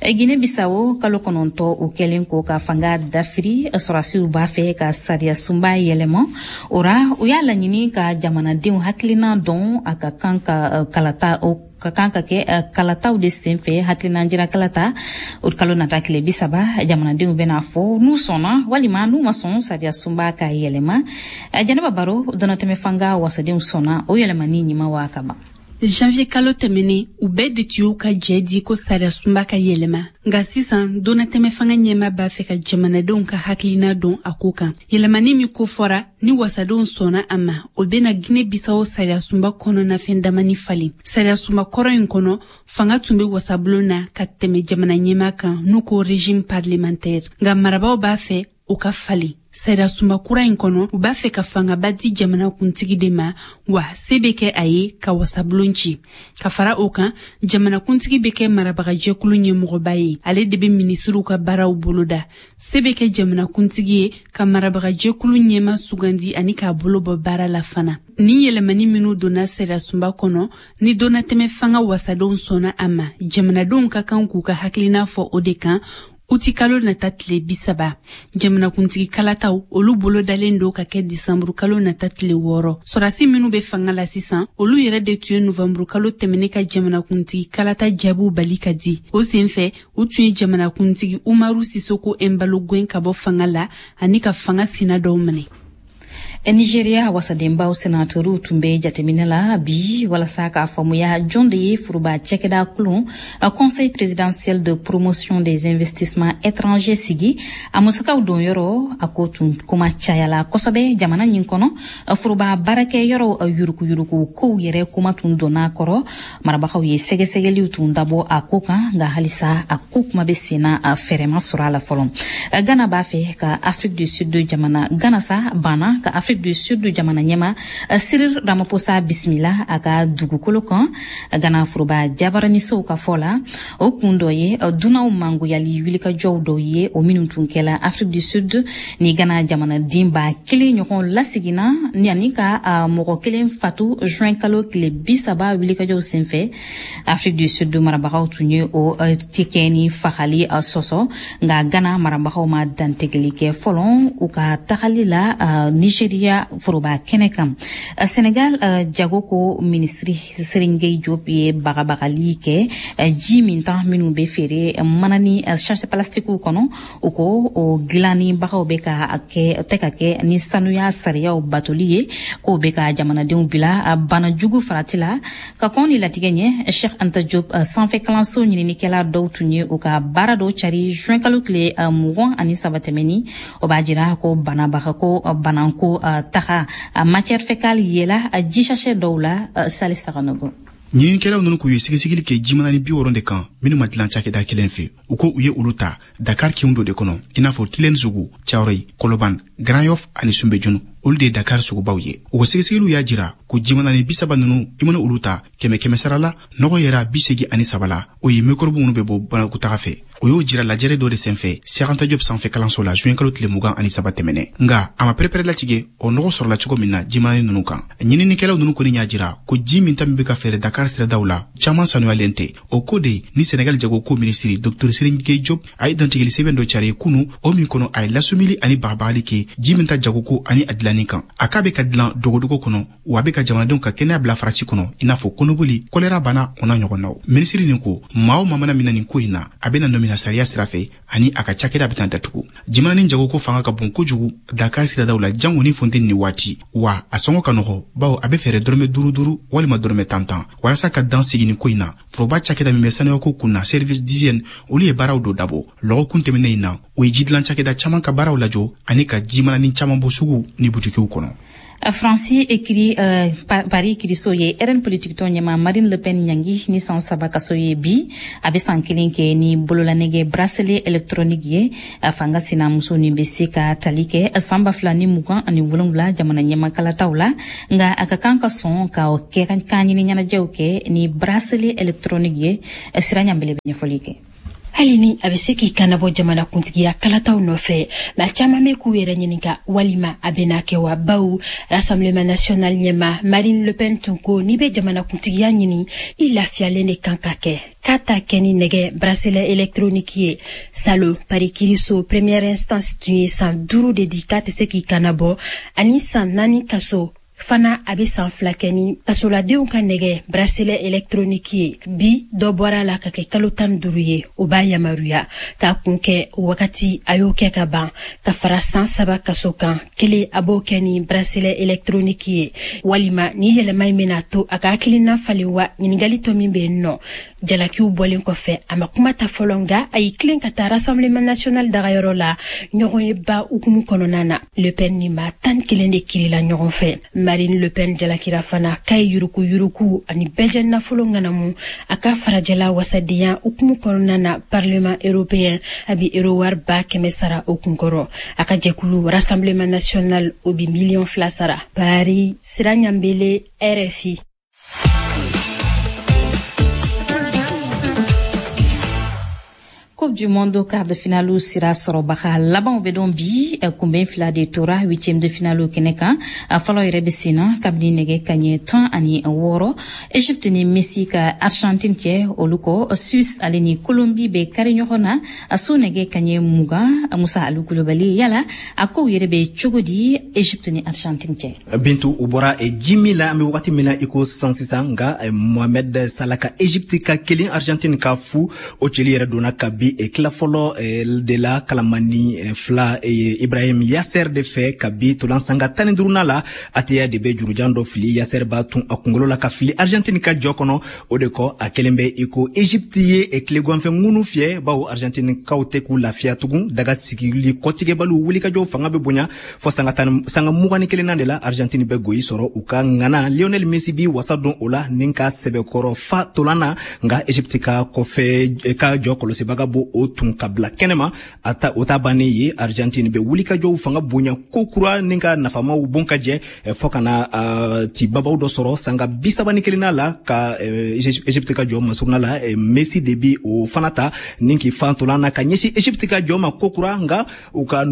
Guinée Bissau, kalo 9 o kɛlen ko ka fanga dafiri, sɔrɔsiw b'a fɛ ka sariya sunba yɛlɛma. O ra, u y'a laɲini ka jamanadenw hakilina dɔn a ka kan ka kalata o ka kan ka kɛ kalataw de senfɛ. Hakilina jira kalata o kalo nata tile 30, jamanadenw bɛna fɔ n'u sɔnna walima n'u ma sɔn sariya sunba ka yɛlɛma. Jɛnɛba Baro, dɔnatɛmɛ fanga wasadenw sɔnna o yɛlɛmani ɲuman wa ka ban? Janvier kalo tɛmɛnen, u bɛɛ de tun y'u ka jɛ di ko sariya sunba ka yɛlɛma. Nka sisan, donnatɛmɛ fanga ɲɛma b'a fɛ ka jamanadenw ka hakilina dɔn a ko kan. Yɛlɛmani min ko fɔra, ni wasadenw sɔnna a ma, o bena Guinée Bissau sariya sunba kɔnɔnafɛn damani falen. Sariya sunba kɔrɔ in kɔnɔ, fanga tun be wasabulon na ka tɛmɛ jamana ɲɛma kan, n'u ko régime parlementaire. Nka marabaw b'a fɛ o ka falen. Sariya sunba kura in kɔnɔ, u b'a fɛ ka fangaba di jamana kuntigi de ma, wa se bɛ kɛ a ye ka wasabulon ci. Ka fara o kan, jamanakuntigi bɛ kɛ marabagajɛkulu ɲɛmɔgɔba ye, ale de bɛ minisiriw ka baaraw boloda. Se bɛ kɛ jamanakuntigi ye ka marabagajɛkulu ɲɛma sugandi ani k'a bolo bɔ baara la fana. Ni yɛlɛmani minw donna sariya sunba kɔnɔ, ni donnatɛmɛ fanga wasadenw sɔnna a ma, jamanadenw ka kan k'u ka hakilina fɔ o de kan uti kalo nata tile 30. Jamanakuntigi kalataw, olu bolodalen don ka kɛ disanburu kalo nata tile 6. Sɔrasi minw be fanga la sisan, olu yɛrɛ de tun ye novanburu kalo tɛmɛne ka jamanakuntigi kalata jaabiw bali ka di. O sen fɛ, u tun ye jamanakuntigi Umaru Sisoko Embalo gɛn ka bɔ fanga la ani ka fanga sina dɔw minɛ. Nigeria wasadenbaw senatoriw tun bɛ jateminɛ la bi walasa k'a faamuya jɔn de ye foroba cɛkɛda kulun Conseil présidentiel de promotion des investissements étrangers sigi, a musakaw don yɔrɔ. A ko tun kuma cayala kosɛbɛ jamana ɲin kɔnɔ. Foroba baarakɛ yɔrɔw yurukuyuruku kow yɛrɛ kuma tun donna kɔrɔ. Marabagaw ye sɛgɛsɛgɛliw tun dabɔ a ko kan, nka halisa a ko kuma bɛ senna, fɛɛrɛ ma sɔrɔ a la fɔlɔ. Ghana b'a fɛ ka Afrique du Sud jamana, Ghana sa banna ka Afrique du Sud jamana ɲɛma Cyril Ramaphosa bisimila a ka dugukolo kan. Ghana foroba jabaranisow ka fɔ la, o kun dɔ ye dunanw mangoyali wulikajɔw dɔw ye, o minnu tun kɛla Afrique du Sud ni Ghana jamanaden 1000 ɲɔgɔn laseginna ni ani ka mɔgɔ kelen fatu juin kalo tile 30 wulikajɔw senfɛ. Afrique du Sud marabagaw tun ye o cikɛ ni fagali sɔsɔ, nka Ghana marabagaw ma dantigɛli kɛ fɔlɔ u ka tagali la Nigeria foroba kɛnɛ kan. Senegal jago ko minisiri Serigne Gueye Diop ye bagabagali kɛ ji mintan minnu bɛ feere manani sachet plastikiw kɔnɔ. O ko o dilannibagaw bɛ ka kɛ tɛ ka kɛ ni sanuya sariyaw batoli ye, k'o bɛ ka jamanadenw bila bana jugu farati la. Ka kɔn ni latigɛ ɲɛ, Cheikh Anta Diop sanfɛ kalanso ɲininikɛla dɔw tun ye u ka baara dɔw cari juin kalo tile 23 tɛmɛni. O b'a jira ko banabaga ko bananko taga matière fécale yela ji sachet dɔw la. Salif Saganogo. Ɲininikɛlaw ninnu k'u ye sɛgɛsɛgɛli kɛ jimanani 60 de kan minnu ma dilan cakɛda kelen fɛ. U ko u ye olu ta Dakar kinw dɔ de kɔnɔ, i n'a fɔ Tilène sugu, Thiaroye, Kɔlɔban, Grand Yoff ani Soumbédioune. Olu de ye Dakar sugubaw ye. U ko sɛgɛsɛgɛliw y'a jira ko jimanani 30 ninnu, i mana olu ta 100 100 sara la, nɔgɔ yɛrɛ 83 la, o ye mikɔrɔbu minnu bɛ bɔ banakɔtaga fɛ. O y'o jira lajɛrɛ dɔ de senfɛ Cheikh Anta Diop sanfɛ kalanso la juin kalo tile 23 tɛmɛnɛ. Nka a ma pɛrɛpɛrɛ latigɛ o nɔgɔ sɔrɔla cogo min na jimanani ninnu kan. Ɲininikɛlaw ninnu kɔni y'a jira ko ji min ta min bɛ ka feere Dakar siradaw la, caman sanuyalen tɛ. O ko de ni Senegal jagoko minisiri Dr Serigne Gueye Diop a ye dantigɛli sɛbɛn dɔ cari kunu, o min kɔnɔ a ye lasumili ani bagabagali kɛ ji min ta jagoko ani a dilanni kan. A k'a bɛ ka dilan dogodogo kɔnɔ, wa a bɛ ka jamanadenw ka kɛnɛya bila farati kɔnɔ, i n'a fɔ kɔnɔboli, kɔlɛra bana, o n'a ɲɔgɔnnaw. Minisiri nin ko maa o maa mana minɛ nin ko in na, a bɛna nɔmina sariya sira fɛ ani a ka cakɛda bɛna datugu. Jimanani jagoko fanga ka bon kojugu Dakar siradaw la, jango ni funteni ni waati, wa a sɔngɔ ka nɔgɔ, bawo a bɛ feere dɔrɔmɛ 5 5 walima dɔrɔmɛ 10 10. Walasa ka dan sigi nin ko in na, foroba cakɛda min bɛ sanuyako kun na, service d'hygiène, olu ye baaraw dɔ dabɔ lɔgɔkun tɛmɛnen in na. O ye jidilan cakɛda caman ka baaraw lajɔ ani ka jimanani caman bɔ sugu ni butikiw kɔnɔ. Faransi ekiri Paris kiriso ye RN politique tɔn ɲɛma Marine Le Pen ɲangi ni san 3 kaso ye bi. A bɛ san 1 kɛ ni bololanɛgɛ bracelet électronique ye. Fanga sinamuso nin bɛ se ka tali kɛ san 2027 jamana ɲɛma kalataw la, nka a ka kan ka sɔn ka o kɛ kan ɲini ɲɛnajɛw kɛ ni bracelet électronique ye. Sira ɲanbele bɛ ɲɛfɔli kɛ. Hali ni a bɛ se k'i kannabɔ jamana kuntigiya kalataw nɔfɛ, maa caman bɛ k'u yɛrɛ ɲininka walima a bɛna kɛ wa, bawo Rassemblement national ɲɛma Marine Le Pen tun ko n'i bɛ jamana kuntigiya ɲini, i lafiyalen de kan ka kɛ, k'a ta kɛ ni nɛgɛ bracelet électronique ye. Salo Paris kiriso première instance tun ye san 5 de di k'a tɛ se k'i kannabɔ, ani san 4 kaso fana. A bɛ san 2 kɛ ni kasoladenw ka nɛgɛ bracelet électronique ye. Bi dɔ bɔra la ka kɛ kalo 15 ye. O b'a yamaruya k'a kun kɛ wagati a y'o kɛ ka ban, ka fara san 3 kaso kan kelen, a b'o kɛ ni bracelet électronique ye. Walima ni yɛlɛma in bɛna to a ka hakilina falen wa? Ɲininkali tɔ min bɛ yen nɔ, jalakiw bɔlen kɔfɛ, a ma kuma ta fɔlɔ, nka a y'i tilen ka taa Rassemblement national dagayɔrɔ la ɲɔgɔn ye ba hukumu kɔnɔna na. Le Pen ni maa 11 de kirila ɲɔgɔn fɛ. Marine Le Pen jalakira fana k'a ye yuruku yuruku ani bɛɛjɛ nafolo ŋanamu a ka farajɛla wasadenya hukumu kɔnɔna na Parlement européen. A bi euro wari 100 000 sara o kunkɔrɔ. A ka jɛkulu Rassemblement national, o bi miliyɔn 2 sara. Paris, Sira Ɲanbele, RFI. Coupe du monde quart de finale sira sɔrɔbaga labanw bɛ dɔn bi. Kunbɛn fila de tora huitième de finale kɛnɛ kan. Fɔlɔ yɛrɛ bɛ sen na kabini nɛgɛ kaɲɛ 16, Egypte ni Messi ka Argentine cɛ. Olu kɔ, Suisse ale ni Colombie bɛ kari ɲɔgɔn na a so nɛgɛ kaɲɛ 20. Musa Alu Kulubali, yala a kow yɛrɛ bɛ cogo di Egypte ni Argentine cɛ? Bintu, u bɔra ji min la, an bɛ wagati min na i ko sisan sisan, nka Mohamed Salah ka Egypte ka 1, Argentine ka 0, o celi yɛrɛ donna kabi tila fɔlɔ de la, kalamani 2, Ibrahim Yasser de fɛ. Kabi tolan sanga 15nan la, Ateya de bɛ jurujan dɔ fili, Yasser b'a tun a kunkolo la ka fili Argentine ka jɔ kɔnɔ. O de kɔ, a kelen bɛ i ko Egypte ye tileganfɛ ŋunu fiyɛ, bawo Argentine kaw tɛ k'u lafiya tugun. Daga sigili kɔtigɛbaliw wulikajɔw fanga bɛ bonya fɔ sanga 21nan de la, Argentine bɛ goyi sɔrɔ. U ka ŋana Lionel Messi bi wasa don o la ni ka sɛbɛkɔrɔ fa tolan na, nka Egypte ka kɔfɛ ka jɔ kɔlɔsibaga bo o tun ka bila kɛnɛma. A ta o ta bannen ye, Argentine bɛ wulikajɔw fanga bonya ko kura ni ka nafamaw bon ka jɛ fɔ ka na ti babaw dɔ sɔrɔ sanga 31nan la, ka Egypte ka jɔ masuruna la. Messi de bi o fana ta ni k'i fan tolan na ka ɲɛsin Egypte ka jɔ ma ko kura, nka u ka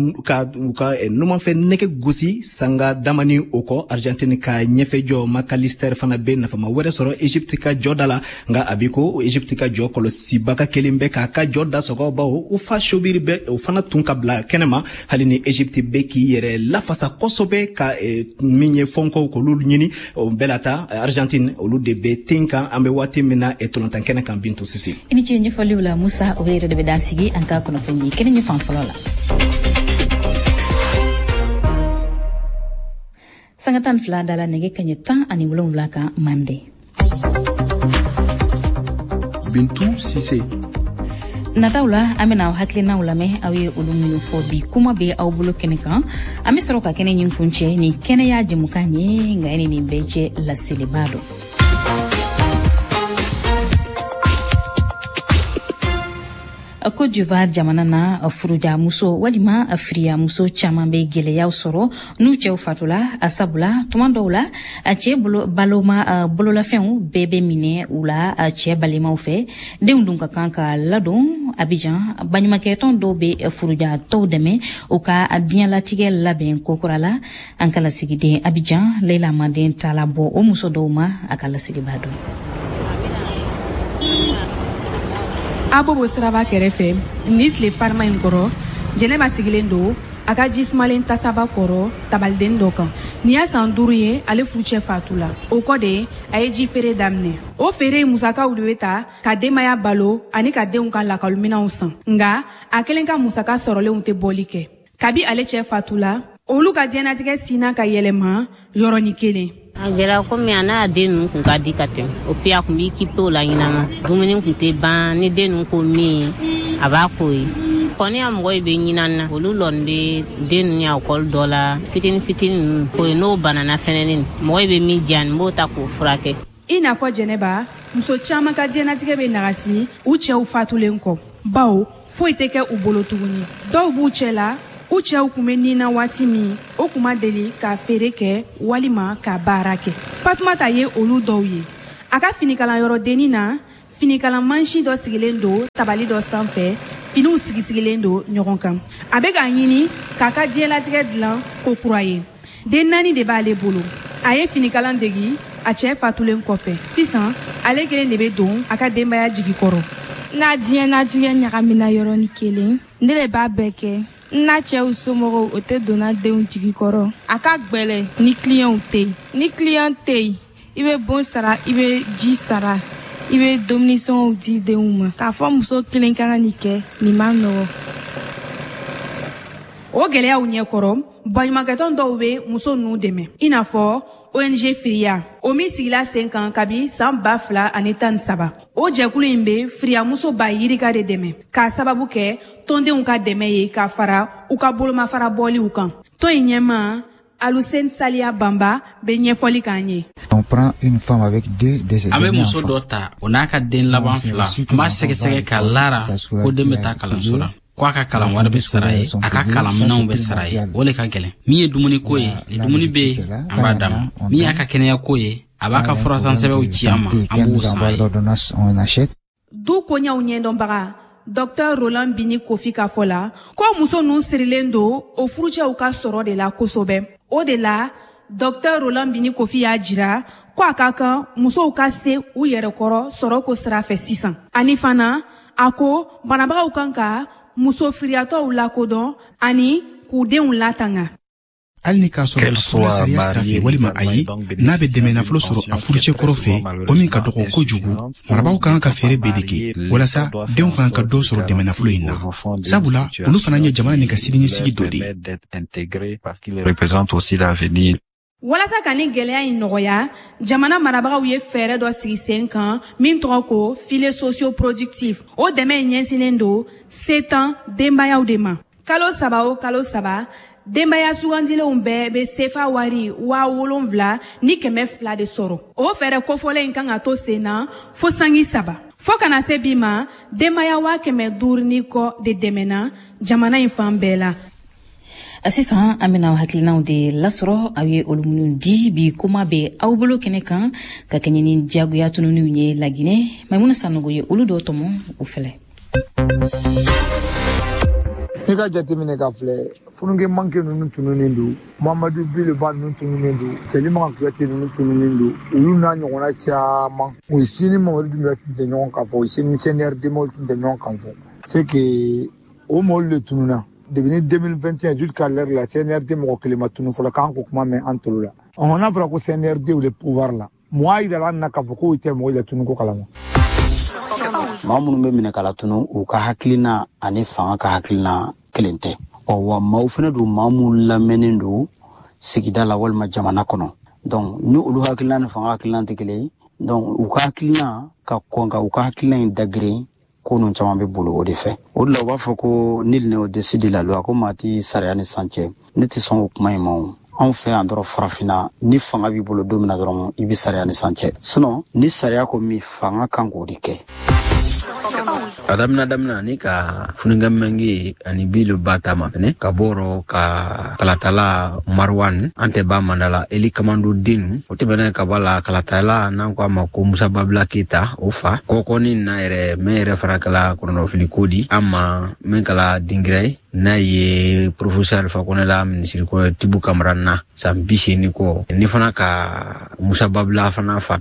numanfɛ nɛgɛ gosi. Sanga damani o kɔ, Argentine ka ɲɛfɛ jɔ Macalister fana bɛ nafama wɛrɛ sɔrɔ Egypte ka jɔ da la, nka a bi ko Egypte ka jɔ kɔlɔsibaga kelen bɛ k'a ka jɔ da sɔgɔ, bawo u fa Sobiri bɛ o fana tun ka bila kɛnɛma. Hali ni Egypte bɛ k'i yɛrɛ lafasa kosɛbɛ ka min ye fɔnkɔw k'olu ɲini, o bɛɛ la ta Argentine olu de bɛ ten kan an bɛ waati min na tolantan kɛnɛ kan. Bintu Sise. I ni ce ɲɛfɔliw la, Musa. O yɛrɛ de bɛ dan sigi an ka kunnafoni kɛnɛ ɲɛ fan fɔlɔ la. Sanga 12 dala nɛgɛ kaɲɛ 17 kan mande. Bintu Sise. Nataw la, an bena aw hakilinaw lamɛn, aw ye olu minnu fɔ bi kuma bɛ aw bolo kɛnɛ kan. An be sɔrɔ ka kɛnɛ ɲin kuncɛ ni kɛnɛya jɛmukan ye. Nka ni nin bɛɛ cɛ, laseliba dɔ. Côte d'Ivoire jamana na, furujamuso walima firiyamuso caman bɛ gɛlɛyaw sɔrɔ n'u cɛw fatula, sabula tuma dɔw la a cɛ bolo baloma bololafɛnw bɛɛ bɛ minɛ u la cɛ balimaw fɛ. Denw dun ka kan ka ladon. Abidjan, baɲumankɛtɔn dɔw bɛ furujatɔw dɛmɛ u ka diɲɛlatigɛ labɛn kokura la. An ka lasigiden Abidjan, Leila Manden, taala bɔ o muso dɔw ma, a ka lasigiba don. Abobo siraba kɛrɛfɛ, ni tile farima in kɔrɔ, Jɛnɛba sigilen don a ka ji sumalen tasaba kɔrɔ tabaliden dɔ kan. Nin y'a san 5 ye ale furucɛ fatu la. O kɔ de, a ye ji feere daminɛ. O feere musakaw de bɛ ta ka denbaya balo ani ka denw ka lakɔliminɛnw san. Nka a kelen ka musaka sɔrɔlenw tɛ bɔli kɛ. Kabi ale cɛ fatu la, olu ka diɲɛnatigɛ sinna ka yɛlɛma yɔrɔnin kelen. A gɛlɛya komi a n'a den ninnu kun ka di ka tɛmɛ o puis a kun b'i kipe o la ɲinama. Dumuni kun tɛ ban, ni den ninnu ko min, a b'a k'o ye. Kɔni ya mɔgɔ bɛ ɲinan na, olu lɔni bɛ den ninnu ya ekɔli dɔ la fitini fitini ninnu o ye. N'o banana fɛnɛni, mɔgɔ bɛ min diya, n b'o ta k'o furakɛ. I n'a fɔ Jɛnɛba, muso caman ka diɲɛnatigɛ bɛ nagasi u cɛw fatulen kɔ, bawo foyi tɛ kɛ u bolo tuguni. Dɔw b'u cɛ la, u cɛw kun bɛ nin na waati min, o kun ma deli ka feere kɛ walima ka baara kɛ. Fatumata ye olu dɔw ye. A ka finikalanyɔrɔ dennin na, finikalan mansin dɔ sigilen don tabali dɔ sanfɛ, finiw sigisigilen don ɲɔgɔn kan. A bɛ k'a ɲini k'a ka diɲɛlatigɛ dilan ko kura ye. Den 4 de b'ale bolo. A ye finikalan degi a cɛ fatulen kɔfɛ. Sisan ale kelen de bɛ don a ka denbaya jigi kɔrɔ. N'a diɲɛlatigɛ ɲagamina yɔrɔnin kelen, ne de b'a bɛɛ kɛ. N n'a cɛw somɔgɔw, o tɛ donna denw jigi kɔrɔ. A ka gwɛlɛ ni kiliyanw tɛ yen. Ni kiliyan tɛ yen, i bɛ bon sara, i bɛ ji sara, i bɛ dumunisɔngɔw di denw ma. K'a fɔ muso kelen ka kan nin kɛ, nin man nɔgɔ. O gɛlɛyaw ɲɛkɔrɔ, baɲumankɛtɔn dɔw bɛ muso ninnu dɛmɛ, i n'a fɔ ONG Firiya, o min sigila sen kan kabi san 2013. O jɛkulu in bɛ firiyamuso ba yirika de dɛmɛ k'a sababu kɛ tɔndenw ka dɛmɛ ye ka fara u ka bolomafara bɔliw kan. Tɔn in ɲɛmaa Aluseni Saliya Banba bɛ ɲɛfɔli k'an ye. On prend une femme avec deux de An bɛ muso dɔ ta, o n'a ka den laban fila, an b'a sɛgɛsɛgɛ ka lara ko den bɛ taa kalanso la, ko a ka kalan wari bɛ sara ye, a ka kalanminɛnw bɛ sara ye. O le ka gɛlɛn. Min ye dumuniko ye, dumuni bɛ yen, an b'a d'a ma. Min y'a ka kɛnɛyako ye, a b'a ka furasansɛbɛnw ci an ma, an b'u san ye. Du koɲɛw ɲɛdɔnbaga Dr Roland Bini Kofi ka fɔ la ko muso ninnu sirilen don o furucɛw ka sɔrɔ de la kosɛbɛ. O de la, Dr Roland Bini Kofi y'a jira ko a ka kan musow ka se u yɛrɛ kɔrɔ sɔrɔ ko sira fɛ sisan. Ani fana, a ko banabagaw kan ka muso firiyatɔw lakodɔn ani k'u denw latanga. Hali ni k'a sɔrɔ a furula sariya sira fɛ walima ayi, n'a bɛ dɛmɛ nafolo sɔrɔ a furucɛ kɔrɔ fɛ, o min ka dɔgɔ kojugu, marabaaw ka kan ka fɛɛrɛ bɛɛ de kɛ walasa denw fana ka dɔ sɔrɔ dɛmɛ nafolo in na, sabula olu fana ye jamana nin ka siniɲɛsigi dɔ de ye. Walasa ka ni gɛlɛya in nɔgɔya, jamana marabagaw ye fɛɛrɛ dɔ sigi sen kan min tɔgɔ ko filet socio-productif. O dɛmɛ in ɲɛsinnen don setan denbayaw de ma. Kalo 3 o kalo 3, denbaya sugandilenw bɛɛ bɛ sefa wari 7200 de sɔrɔ. O fɛɛrɛ kofɔlen in kan ka to sen na fo sangi 3. Fo kana se bi ma, denbaya 500 ni kɔ de dɛmɛna jamana in fan bɛɛ la. Sisan an bɛna hakilinaw de lasɔrɔ aw ye olu minnu di bi kuma bɛ aw bolo kɛnɛ kan ka kɛɲɛ ni diyagoya tununiw ye Laginɛ. Maimuna Sanogo ye olu dɔw tɔmɔ, o filɛ. N'i ka jateminɛ ka filɛ, funukɛ manke ninnu tununnen don, Mamadu Bileba ninnu tununnen don, Cɛlimaga Kuyate ninnu tununnen don, olu n'a ɲɔgɔnna caman. U si ni Mamadu Dunbiya tun tɛ ɲɔgɔn kan fɔ, u si ni CNRD mɔgɔw tun tɛ ɲɔgɔn kan fɔ. C'est que o mɔgɔw de tununna. Depuis 2021 jusqu'à l'heure la, CNRD mɔgɔ kelen ma tunu fɔlɔ k'an ko kuma mɛn an tolo la. Ɔhɔn, n'a fɔra ko CNRD le pouvoir la, mun y'a yira an na k'a fɔ k'o tɛ mɔgɔw la tunu ko kalama? Maa minnu bɛ minɛ ka latunu, u ka hakilina ani fanga ka hakilina kelen tɛ. Ɔ wa maaw fana don, maa minnu lamɛnnen don sigida la walima jamana kɔnɔ. Donc ni olu hakilina ni fanga hakilina tɛ kelen ye, donc u ka hakilina ka kɔn ka u ka hakilina in dagirin, ko ninnu caman bɛ bolo o de fɛ. O de la u b'a fɔ ko nul n'est au-dessus de la loi, ko maa tɛ sariya ni san cɛ. Ne tɛ sɔn o kuma in ma o. Anw fɛ yan dɔrɔn farafinna, ni fanga b'i bolo don min na dɔrɔn, i bɛ sariya ni san cɛ. Sinon ni sariya ko min, fanga kan k'o de kɛ. A damina damina ni ka Foniké Menguè ani Billo Bah ta mafɛnɛ, ka bɔrɔ ka kalatala Marwan an tɛ ba mandala Eli Kamando den. O tɛmɛnen ka bɔ la, kalatala n'an ko a ma ko Musa Babila Keyita, o fa kɔkɔni na yɛrɛ mɛn yɛrɛ fana kɛla kɔnɔnɔfili ko di an ma, min kɛla dingira ye, n'a ye professeur Alpha Condé la minisiri kɔ Tibou Kamara na san 80 kɔ, ni fana ka Musa Babila fana fa.